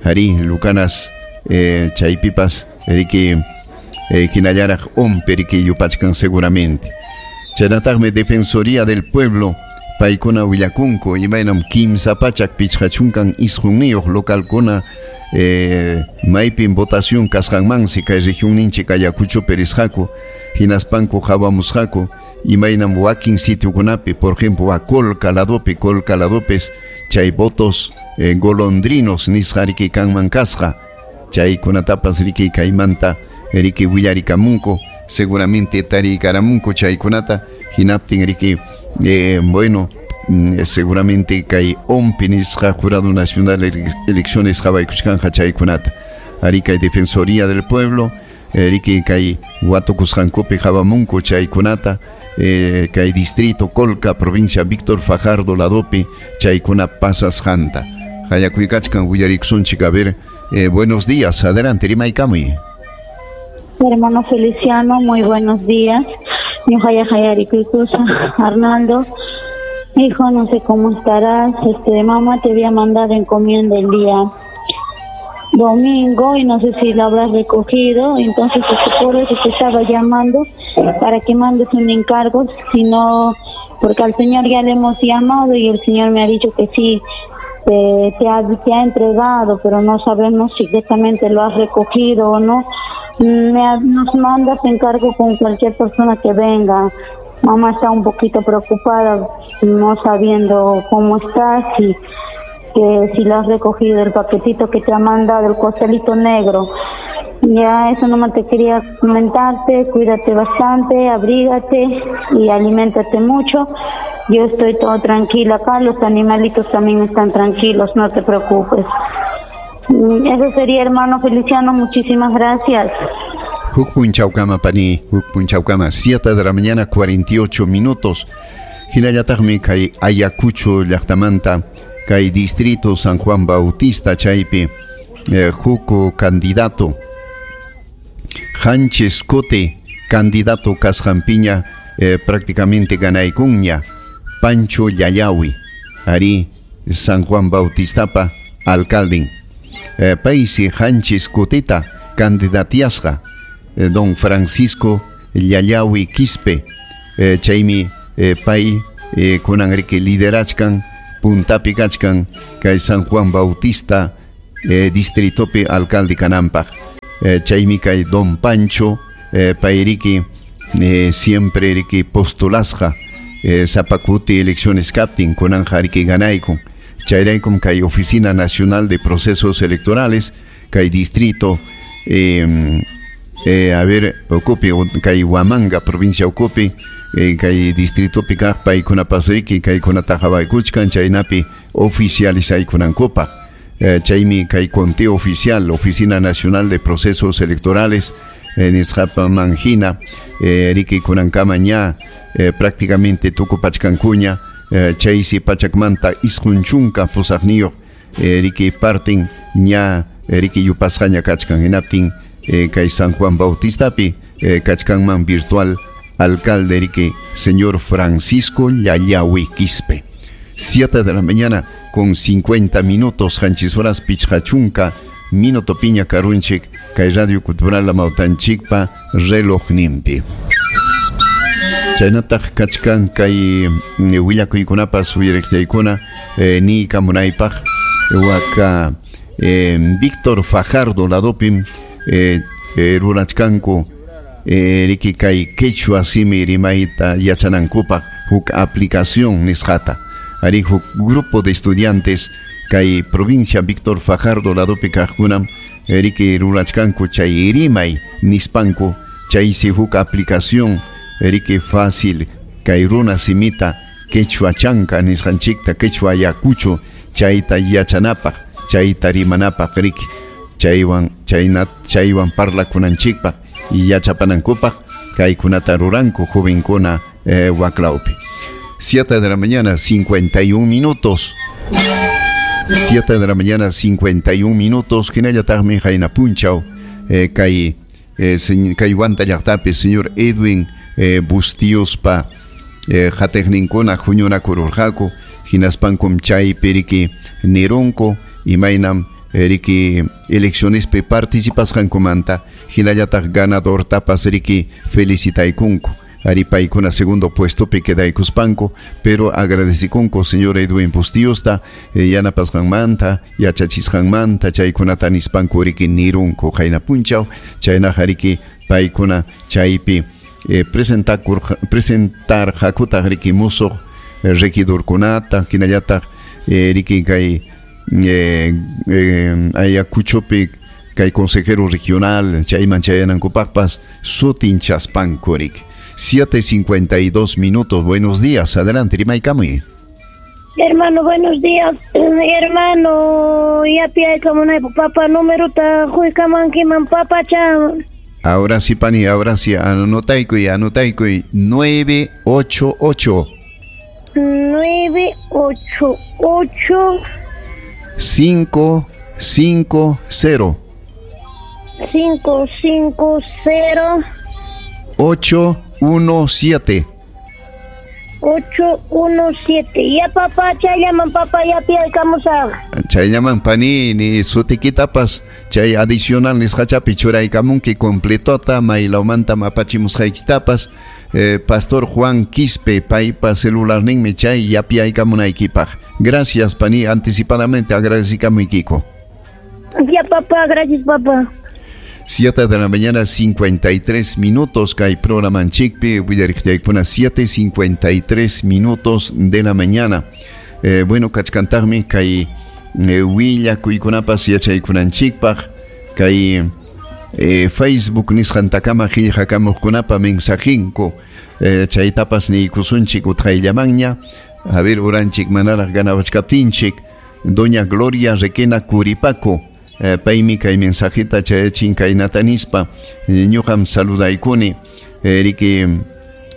[SPEAKER 5] ari Lucanas eh, chaypipas riki eh, hinallaraq O M P riki yupachkan seguramente. Chaynataqmi Defensoría del Pueblo paykuna willakunku imaynam kimsa pachak pichqa chunkan isqunniyuq localkuna eh, maypim votación kasqanmansi kay regionninchik Ayacuchopi risqaku, hinaspanku qhawamusqaku imaynam wakin sitiokunapi, por ejemplo, a Colca ladopi, Colca ladopes chay votos eh, golondrinos nisqa riki kanman kasqa, chaykunatapas riki kaymanta riki willarikamunku, seguramente tarikaramunku chaykunata, hinaptin riki eh, bueno, seguramente kay O M P nisqa Jurado Nacional de Elecciones qhawaykuchkanqa chaykunata. Ari kay Defensoría del Pueblo riki kay watukusqankupi qhawamunku chaykunata, eh, kay distrito Colca, provincia Víctor Fajardo ladopi chaykuna pasasqanta. Qayakuykachkan willarikusunchik, a ver, eh, buenos días, adelante, rimaykamuy.
[SPEAKER 10] Hermano Feliciano, muy buenos días. Ñuqaya qayarikuykusa, Arnaldo. Hijo, no sé cómo estarás. Este, mamá te había mandado encomienda el día domingo y no sé si lo habrás recogido. Entonces, este, por eso te estaba llamando para que mandes un encargo. Si no, porque al Señor ya le hemos llamado y el Señor me ha dicho que sí, te, te, ha, te ha entregado, pero no sabemos si exactamente lo has recogido o no. Me, nos mandas encargo con cualquier persona que venga. Mamá está un poquito preocupada, no sabiendo cómo estás y que si lo has recogido, el paquetito que te ha mandado, el costelito negro. Ya eso nomás te quería comentarte, cuídate bastante, abrígate y aliméntate mucho. Yo estoy todo tranquila acá, los animalitos también están tranquilos, no te preocupes. Eso sería, hermano Feliciano, muchísimas gracias.
[SPEAKER 5] Huk punchawkama, pani, huk punchawkama. Siete de la mañana, cuarenta y ocho minutos. Hinallataqmi kay Ayacucho llaqtamanta, kay distrito San Juan Bautista chaypi, eh, huk candidato, Hanches Cote, candidato kasqanpiña, eh, prácticamente ganaykunña, Pancho Yayawi, ari San Juan Bautistapa alcalde. Eh, paysi qanchis kutita candidatiasqa. eh, don Francisco Llallawi Quispe eh, chaymi eh, pay eh, kunan riki liderachkan puntapi kachkan kay San Juan Bautista eh, distritopi alcalde kananpaq eh, chaymi kay don Pancho eh, pay riki eh, siempre riki postulasqa eh, sapakuti elecciones kaptin kunanqa riki ganaykun chayraykum kay Oficina Nacional de Procesos Electorales kay distrito eh, eh, a ver ukupi kay Huamanga provincia ukupi eh, kay distritopi kaq paykunapas riki kaykunata qhawaykuchkan chaynapi oficializaykunankupaq eh, chaymi kay conteo oficial Oficina Nacional de Procesos Electorales eh, nisqapaman hina eh, riki kunankama ña eh, prácticamente tukupachkankuña eh, chaysi pachakmanta isqun chunka pusaqniyuq eh, riki partin ña eh, riki yupasqaña kachkan hinaptin eh, kay San Juan Bautistapi eh, kachkanman virtual alcalde riki señor Francisco Llallawi Quispe. Siete de la mañana con cincuenta minutos qanchis horas pichqa chunka minuto piña karunchik kay Radio Cultural Amawtanchikpa relojninpi. Chaynataq kachkan kay willakuykunapas uyariqllaykuna eh, ni kamunaypaq waka eh, Víctor Fajardo ladopim eh, eh, rurachkanku eh, riki kay quechua simi rimayta yachanankupaq huk aplicación nisqata ari huk grupo de estudiantes kay provincia Víctor Fajardo ladopi kaqkunam riki rurachkanku chay rimay nispanku chaysi huk aplicación riki fácil kay runa simita quechua chanka nisqanchikta quechua Ayacucho chayta yachanapaq chayta rimanapaq riki chaywan chayna chaywan parlakunanchikpaq yachapanankupaq kaykunata ruranku jovenkuna eh, waklawpi. Siete de la mañana, cincuenta y un minutos. Siete de la mañana, cincuenta y un minutos. Hinallataqmi qayna punchaw eh, kay eh, kay Huanta llaqtapi señor Edwin eh, Bustiospa eh, qatiqninkuna huñunakururqaku hinaspankum chaypi riki nirunku imaynam riki eleccionespi participasqankumanta hinallataq ganadortapas riki felicitaykunku ari paykuna segundo puestopi quedaykuspanku pero agradecikunku señor Edwin Bustiosta eh, yanapasqanmanta yachachisqanmanta chaykunata nispanku riki nirunku qayna punchaw chaynaqa riki paykuna chaypi eh, presentakur presentarqakutaq riki musuq eh, regidorkunata hinallataq eh, riki kay eh, eh, Ayacuchopi kay consejero regional chayman chayanankupaqpas sutinchaspanku riki. siete cincuenta y dos minutos. Buenos días, adelante, rimaykamuy.
[SPEAKER 9] Hermano, buenos días. Hermano, ya pia como no papá número ta huykamankiman papacha.
[SPEAKER 5] Ahora sí, pani, ahora sí, anotaykuy, anotaykuy, nueve ocho ocho.
[SPEAKER 9] nueve ocho ocho.
[SPEAKER 5] cinco cinco cero.
[SPEAKER 9] cinco cinco cero.
[SPEAKER 5] ocho uno siete.
[SPEAKER 9] ocho uno siete. Ya papá, chayllaman papá, ya piyaykamusaq.
[SPEAKER 5] Chayllaman pani, ni sutikitapas chay adicional nisqachapi churaykamunki completota maylawmanta apachimusqaykitapas eh, Pastor Juan Quispe paypa celularninmi chay yapiyaykamunaykipaq. Gracias pani, anticipadamente agradecikamuykiku.
[SPEAKER 9] Ya papá, gracias papá.
[SPEAKER 5] siete de la mañana, cincuenta y tres minutos, kay programanchikpi, willariqllaykuna, siete cincuenta y tres minutos de la mañana. Eh, bueno, kachkantaqmi kay eh, willakuykunapas yachaykunanchikpaq, kay eh, Facebook nisqantakama qillqakamuqkunapa mensajinku, eh, chaytapas niykusunchik utqayllamanña, a ver, uranchik manaraq ganawachkaptinchik, doña Gloria Requena Curipaco, Eh, paymi kay mensajita chayachin kaynata nispa ñuqam saludaykuni eh, riki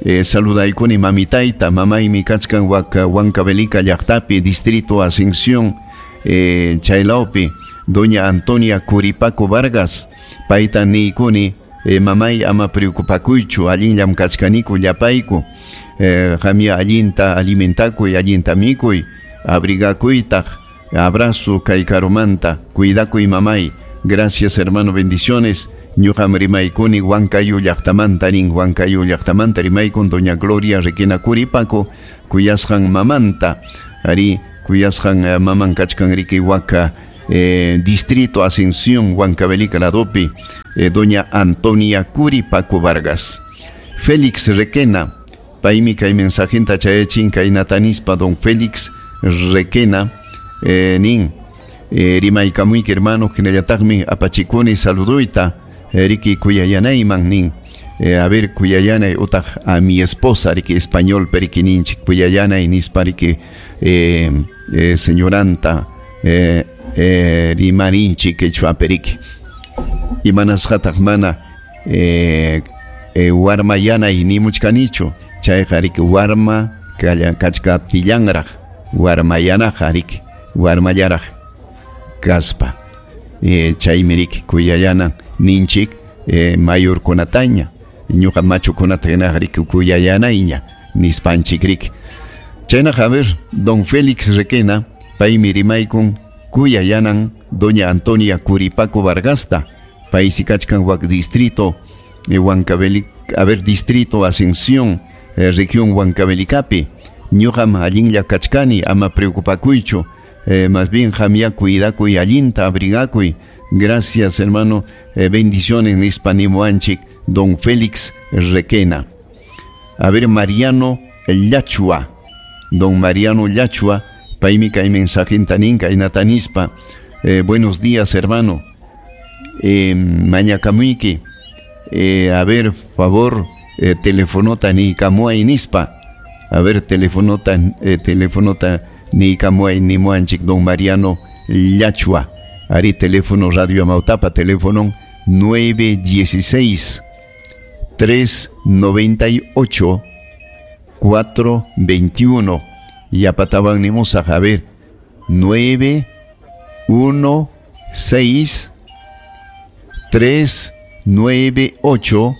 [SPEAKER 5] eh, saludaykuni mamitayta mamaymi kachkan waka Huancavelica llaqtapi distrito Ascensión eh, chaylawpi doña Antonia Curipaco Vargas payta niykuni eh, mamay ama preocupakuychu allinllam kachkaniku llapayku eh, qamya allinta alimentakuy allinta mikuy abrigakuytaq. Abrazo kay karumanta, cuidakuy mamay. Gracias hermano, bendiciones. Ñuqam rimaykuni Huancayo llaqtamanta nin, Huancayo llaqtamanta rimaykun doña Gloria Requena Curipaco, kuyasqan mamanta, ari kuyasqan eh, maman kachkan riki waka eh, distrito Ascensión Huancavelica ladopi, eh, doña Antonia Curipaco Vargas. Félix Requena, paymi kay mensajenta chayachin kaynatanispa don Félix Requena, eh, nin, eh, rimaykamuyki hermano, hinallataqmi apachikuni saluduyta, eh, riki kuyayanayman nin, eh, a ver kuyayanay utaq a mi esposa riki español periki ninchik kuyayanay nispa riki eh, eh, señoranta eh, eh, rimarinchik quechua periki imanasqataq mana eh, eh, warmayanay nimuchkanichu chayqa riki warma kachkaptillanraq warmayanaqa riki warmallaraq kaspa eh, chaymi riki kuyayana ninchik eh, mayorkunataña ñuqa machukunata hinaqa riki kuyayanayña nispanchik riki chaynaqa a ver don Félix Requena paymi rimaykun kuyayanan doña Antonia Curipaco Vargasta paysi kachkan wak distrito eh, Huancavelica, a ver distrito Ascensión eh, región Huancavelicapi ñuqam allinlla kachkani ama preocupakuychu eh, más bien qamya cuidakuy allinta abrigakuy. Gracias hermano, eh, bendiciones nispa nimuanchik don Félix Requena. A ver Mariano Llachua, don Mariano Llachua, paymi kay mensajenta nin kaynatanispa, eh, buenos días hermano, eh, mañakamuyki, eh, a ver favor, eh, telefonota niykamuay nispa, a ver telefonota, eh, telefonota niykamuay nimuanchik don Mariano Llachua, ari teléfono Radio Amautapa, teléfono nueve dieciséis, tres noventa y ocho, cuatro veintiuno. Yapatawan nimusaq, a ver, nueve uno seis, tres nueve ocho,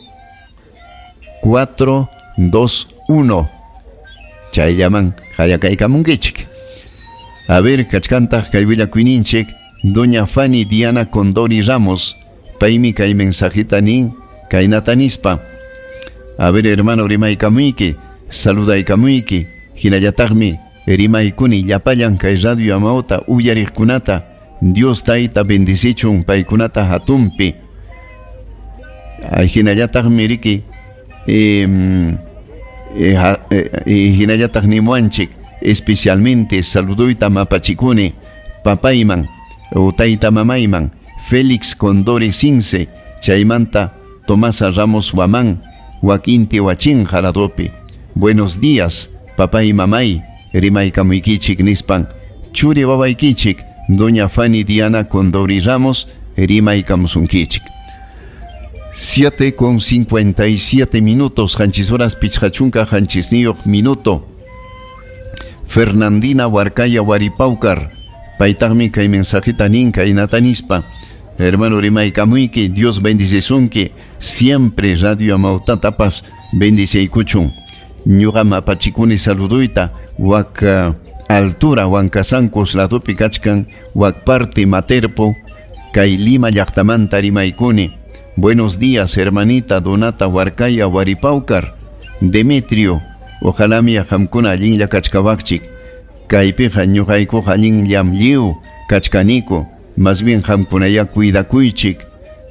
[SPEAKER 5] cuatro dos uno. Chayllaman hayakaykamunkichik. A ver, kachkantaq kay willakuyninchik doña Fanny Diana Condori Ramos, paymi kay mensajita nin kaynata nispa. A ver hermano rimaykamuyki, saludaykamuyki, hinallataqmi rimaykuni llapallan kay Radio Amauta uyariqkunata, Dios tayta bendicichun paykunata hatunpi. Ay, hinallataqmi riki eh, eh, eh, hinallataq nimuanchik especialmente saluduyta mapachikuni papayman o tayta mamayman Félix Condori Cince, chaymanta Tomasa Ramos Huamán, Joaquín Tihuachín Jaradopi. Buenos días, papá y mamay, rimaykamuykichik nispan, churi babaykichik, doña Fanny Diana Condori Ramos, rimaykamusunkichik. siete con cincuenta y siete minutos, hanchis horas pichqachunka hanchisniyuq minuto. Fernandina Huarcaya Huaripaucar, paytaqmi kay mensajita nin kaynata nispa. Hermano rimaykamuyki, Dios bendicisunki, siempre Radio Amautatapas bendiciykuchun. Ñuqam apachikuni saluduyta wak uh, altura Huancasancos ladopi kachkan wak parte Materpo kay Lima llaqtamanta rimaykuni. Buenos días hermanita Donata Huarcaya Huaripaucar, Demetrio, ojalá mi qamkuna allinlla kachkawaqchik. Kaypiqa ñuqaykuqa allinllam lliw kachkaniku, más bien qamkunaya cuidakuychik,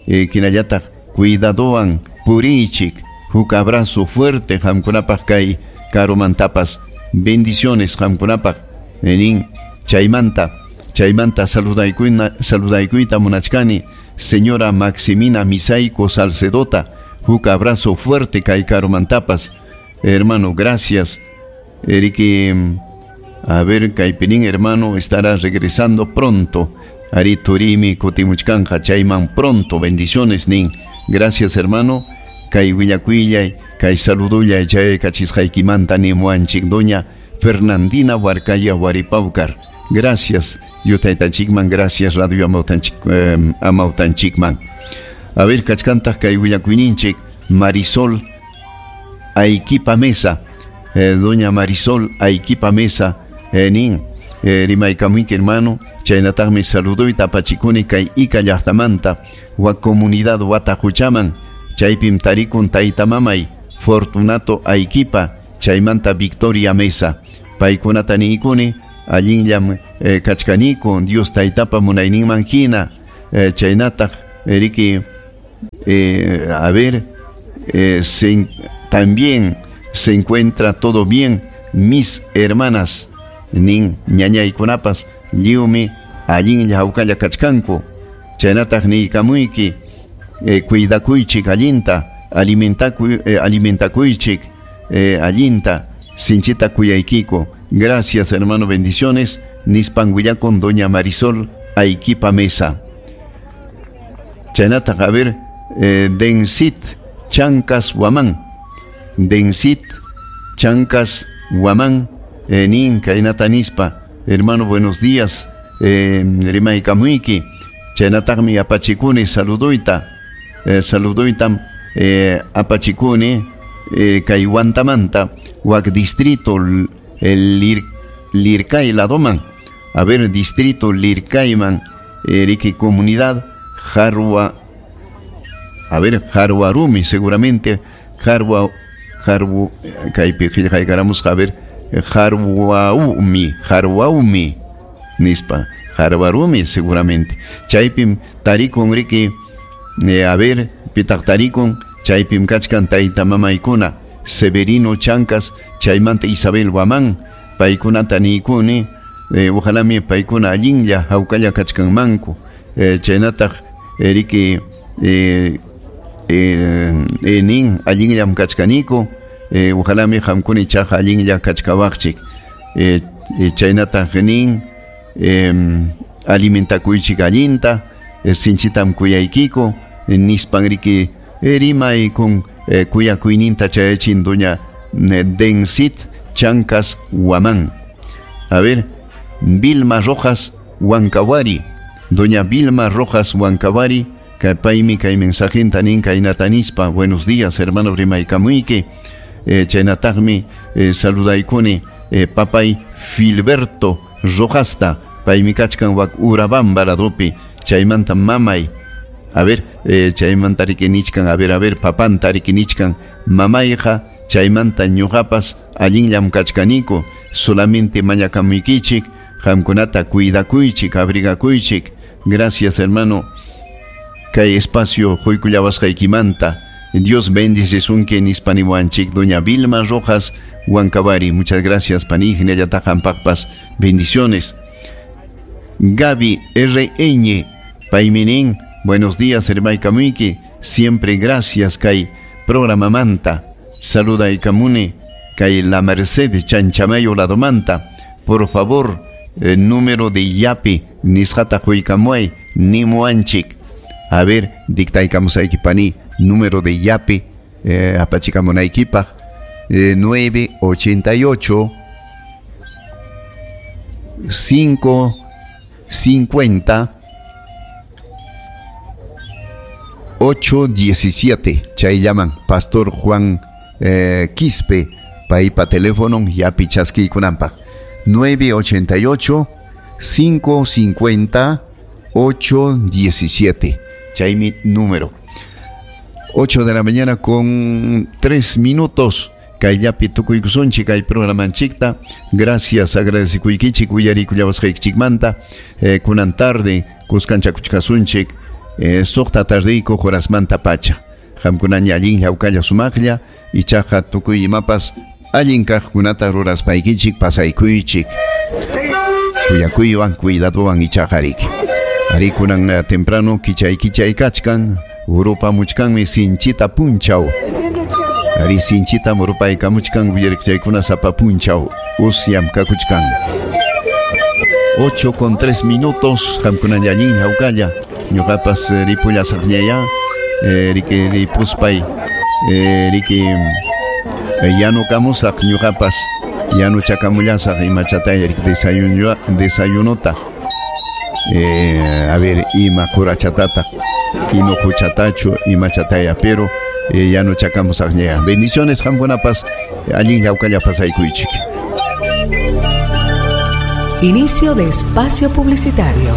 [SPEAKER 5] eh, hinallataq cuidadowan puriychik. Huk abrazo fuerte qamkunapaq kay karumantapas, bendiciones qamkunapaq nin. Chaymanta, chaymanta saludaykuyna, saludaykuyta munachkani señora Maximina Misaico Salcedota, huk abrazo fuerte kay karumantapas. Hermano, gracias. Eriki, a ver, kaypinin hermano estará regresando pronto. Ari turimi kutimuchkanja chayman pronto, bendiciones nin. Gracias hermano. Kay willakuyllay, kay saludullay chay kachisqaykimanta nimuanchik doña Fernandina Huarcaya Huaripaucar. Gracias, Dios taytanchikman, gracias Radio Amautanchik, eh, Amautanchikman. A ver, kachkantaq kay willakuyninchik Marisol Aiquipa Mesa, eh, doña Marisol Aiquipa Mesa, eh, nin, eh, rimaykamuyki hermano, Chaynataqmi saluduyta apachikuni kay Ica llaqtamanta wak comunidad Watajuchaman. Chaypim tarikun tayta mamay Fortunato Ayquipa chaymanta Victoria Mesa. Paykunata niykuni allinllam eh, kachkaniku Dios taytapa munayninman hina. Eh, chaynataq riki eh, a ver eh, se, también se encuentra todo bien mis hermanas nin ñañaykunapas lliwmi allinlla hawkalla kachkanku. Chaynataq niykamuyki eh, cuidakuychik allinta alimentakuy, eh, alimentakuychik eh, allinta sinchita kuyaykiku. Gracias hermano, bendiciones. Nispan willakun doña Marisol Ayquipa Mesa. Chaynataq a ver eh, Densit Chancas Huamán. Densit Chancas Huamán eh, nin kaynata nispa. Hermano, buenos días. Eh, rimaykamuyki. Chaynataqmi apachikuni saluduyta. Eh, saluduytam eh, apachikuni eh, kay Huantamanta wak distrito el Lir, Lircay ladoman. A ver, distrito Lircayman, eh, riki comunidad Jarua, a ver, Jaruarumi, seguramente, Jarua, Jarbu, kaypi qillqaykaramusqa, a ver, Jarwaumi, Jarwaumi, nispa, Jarwarumi, seguramente. Chaypim tarikun riki, eh, a ver, pitaq tarikun, chaypim kachkan tayta mamaykuna, Severino Chancas, chaymanta Isabel Huamán, paykunata niykuni, eh, ojalá mi paykuna allinlla hawkalla kachkanmanku. Eh, chaynataq riki eh, eh, eh, nin allinllam kachkaniku, eh, ojalá mi qamkuna ichaqa allinlla kachkawaqchik. Eh, eh, chaynataq nin eh, alimentakuychik allinta, eh, sinchitam kuyaykiku, eh, nispan riki eh, rimay kun eh, kuyakuyninta chayachin doña eh, Densit Chancas Huamán. A ver, Vilma Rojas Huancawari, doña Vilma Rojas Huancawari, kaypaymi kay mensajenta nin kaynata nispa. Buenos días hermano rimaykamuyki. Eh, chaynataqmi eh, saludaykuni eh, papay Filberto Rojasta, paymi kachkan wak Urabamba ladopi, chaymanta mamay, a ver, eh, chaymanta riki nichkan, a ver, a ver, papanta riki nichkan, mamayqa chaymanta ñuqapas allinllam kachkaniku, solamente mañakamuykichik, qamkunata cuidakuychik, abrigakuychik. Gracias hermano, kay espacio quykullawasqaykimanta. Dios bendice sunki nispaniwanchik doña Vilma Rojas Huancabari. Muchas gracias pani, hinallataq qampaqpas bendiciones. Gaby R N paymi nin, buenos días hermaykamuyki, siempre gracias kay programamanta. Saludaykamuni kay La Merced Chanchamayo ladomanta. Por favor, el número de yapi nisqata quykamuay nimuanchik. A ver, dictaykamusayki pani, número de yapi eh, apachikamunaykipaq eh, nueve ochenta y ocho cinco cincuenta ocho diecisiete. Chay llaman Pastor Juan eh, Quispe paypa teléfono yapi chaskiykunanpaq nueve ochenta y ocho cinco cincuenta ocho diecisiete. Chaymi número. ocho de la mañana con tres minutos. Kayllapi tukuykusunchik kay programanchikta. Gracias, agradecikuykichik uyarikullawasqaykichikmanta. Eh, kunan tarde kuskanchakuchkasunchik eh, suqta tardeyku horasmanta pacha. Qamkunaña allinlla hawkalla sumaqlla ichaqa tukuy imapas allin kaqkunata ruraspaykichik pasaykuychik. Kuyakuywan cuidadowan ichaqa riki. Ari kunan uh, temprano kichay kichay kachkan urupamuchkanmi sinchita punchaw. Ari sinchita murupaykamuchkan uyarikchaykuna sapa punchaw usyam kakuchkan. ocho con tres minutos, qamkunaña allin hawkalla ñuqapas ripullasaqñaya eh, riki ripuspay eh, riki eh, yanukamusaq ñuqapas yanuchakamullasaq imachataya riki desayuno desayunota. Eh, a ver, ima qurachatata inuquchatachu imachataya, pero eh, yanuchakamusaqñaya. Bendiciones qamkunapas allin hawkalla pasaykuychik.
[SPEAKER 3] Inicio de espacio publicitario.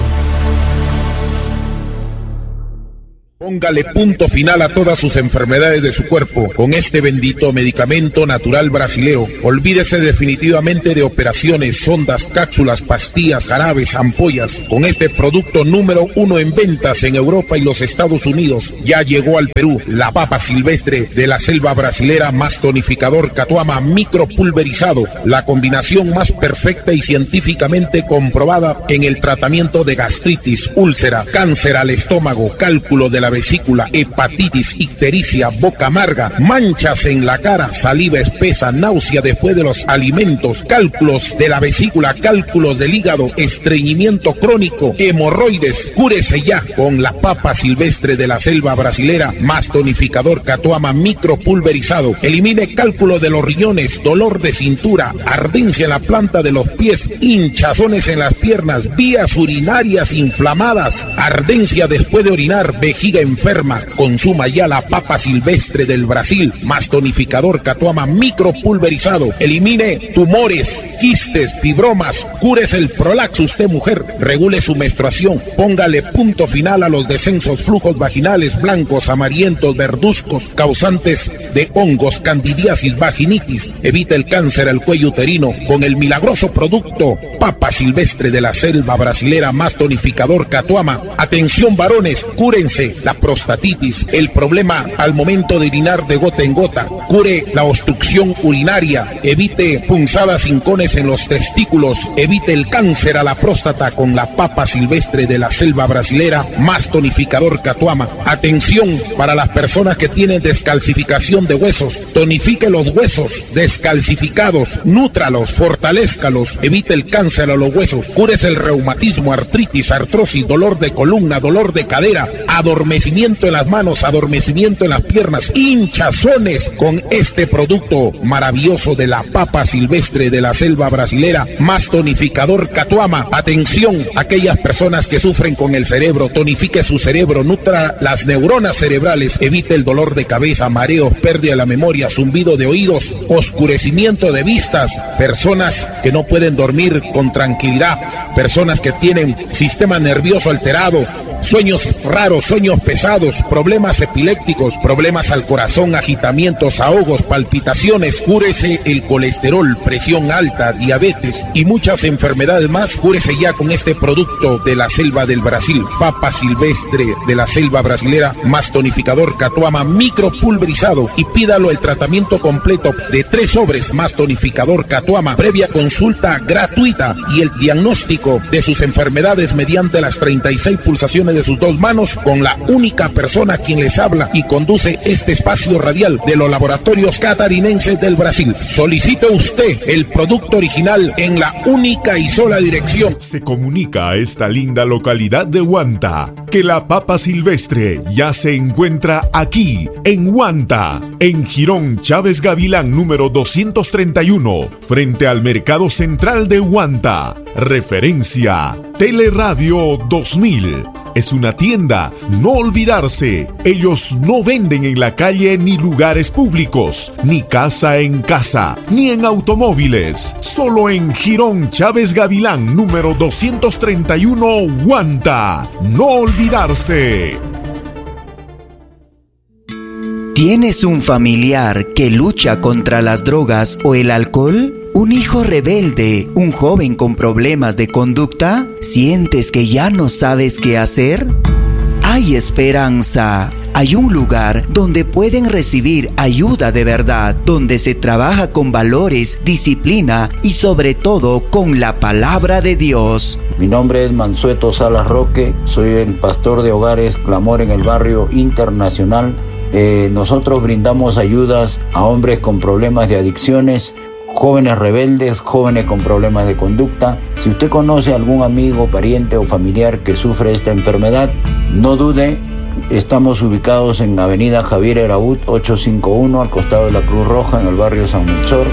[SPEAKER 11] Póngale punto final a todas sus enfermedades de su cuerpo con este bendito medicamento natural brasileo. Olvídese definitivamente de operaciones, sondas, cápsulas, pastillas, jarabes, ampollas. Con este producto número uno en ventas en Europa y los Estados Unidos, ya llegó al Perú la papa silvestre de la selva brasilera más tonificador Catuama micropulverizado, la combinación más perfecta y científicamente comprobada en el tratamiento de gastritis, úlcera, cáncer al estómago, cálculo de la vesícula, hepatitis, ictericia, boca amarga, manchas en la cara, saliva espesa, náusea después de los alimentos, cálculos de la vesícula, cálculos del hígado, estreñimiento crónico, hemorroides. Cúrese ya con la papa silvestre de la selva brasilera más tonificador Catuama micropulverizado. Elimine cálculo de los riñones, dolor de cintura, ardencia en la planta de los pies, hinchazones en las piernas, vías urinarias inflamadas, ardencia después de orinar, vejiga enferma. Consuma ya la papa silvestre del Brasil más tonificador Catuama micropulverizado. Elimine tumores, quistes, fibromas, cúrese el prolaxo usted mujer, regule su menstruación, póngale punto final a los descensos, flujos vaginales blancos, amarillentos, verduzcos, causantes de hongos, candidiasis, vaginitis. Evite el cáncer al cuello uterino con el milagroso producto papa silvestre de la selva brasilera más tonificador Catuama. Atención varones, cúrense la prostatitis, el problema al momento de orinar de gota en gota, cure la obstrucción urinaria, evite punzadas hincones en los testículos, evite el cáncer a la próstata con la papa silvestre de la selva brasilera más tonificador Catuama. Atención para las personas que tienen descalcificación de huesos, tonifique los huesos descalcificados, nútralos, fortalézcalos, evite el cáncer a los huesos, cúrese el reumatismo, artritis, artrosis, dolor de columna, dolor de cadera, adormecimiento en las manos, adormecimiento en las piernas, hinchazones con este producto maravilloso de la papa silvestre de la selva brasilera más tonificador Catuama. Atención, aquellas personas que sufren con el cerebro, tonifique su cerebro, nutra las neuronas cerebrales, evite el dolor de cabeza, mareos, pérdida de la memoria, zumbido de oídos, oscurecimiento de vistas, personas que no pueden dormir con tranquilidad, personas que tienen sistema nervioso alterado, sueños raros, sueños pesados, problemas epilépticos, problemas al corazón, agitamientos, ahogos, palpitaciones. Cúrese el colesterol, presión alta, diabetes y muchas enfermedades más. Cúrese ya con este producto de la selva del Brasil, papa silvestre de la selva brasilera más tonificador Catuama micropulverizado, y pídalo el tratamiento completo de tres sobres más tonificador Catuama, previa consulta gratuita y el diagnóstico de sus enfermedades mediante las treinta y seis pulsaciones de sus dos manos, con la única persona quien les habla y conduce este espacio radial de los laboratorios catarinenses del Brasil. Solicite usted el producto original en la única y sola dirección.
[SPEAKER 12] Se comunica a esta linda localidad de Huanta que la papa silvestre ya se encuentra aquí, en Huanta, en Jirón Chávez Gavilán número doscientos treinta y uno, frente al Mercado Central de Huanta. Referencia Teleradio dos mil. Es una tienda, no olvidarse. Ellos no venden en la calle ni lugares públicos, ni casa en casa, ni en automóviles. Solo en Jirón Chávez Gavilán, número doscientos treinta y uno, Huanta. No olvidarse.
[SPEAKER 1] ¿Tienes un familiar que lucha contra las drogas o el alcohol? ¿Un hijo rebelde? ¿Un joven con problemas de conducta? ¿Sientes que ya no sabes qué hacer? Hay esperanza. Hay un lugar donde pueden recibir ayuda de verdad, donde se trabaja con valores, disciplina y sobre todo con la palabra de Dios.
[SPEAKER 13] Mi nombre es Mansueto Salas Roque, soy el pastor de Hogares Clamor en el Barrio Internacional. Eh, nosotros brindamos ayudas a hombres con problemas de adicciones, jóvenes rebeldes, jóvenes con problemas de conducta. Si usted conoce a algún amigo, pariente o familiar que sufre esta enfermedad, no dude. Estamos ubicados en Avenida Javier Eraut ochocientos cincuenta y uno, al costado de la Cruz Roja, en el barrio San Melchor.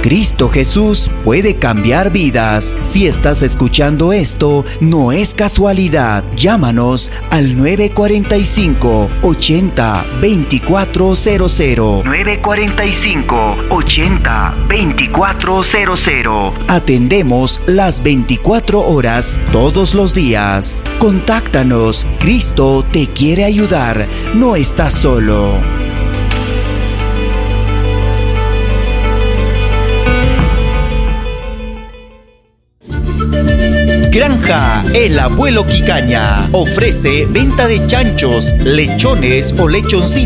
[SPEAKER 1] Cristo Jesús puede cambiar vidas. Si estás escuchando esto, no es casualidad. Llámanos al nueve cuarenta y cinco, ochenta, veinticuatro cero cero. nueve cuarenta y cinco, ochenta, veinticuatro cero cero. Atendemos las veinticuatro horas todos los días. Contáctanos. Cristo te quiere ayudar. No estás solo. Granja El Abuelo Quicaña ofrece venta de chanchos, lechones o lechoncitos.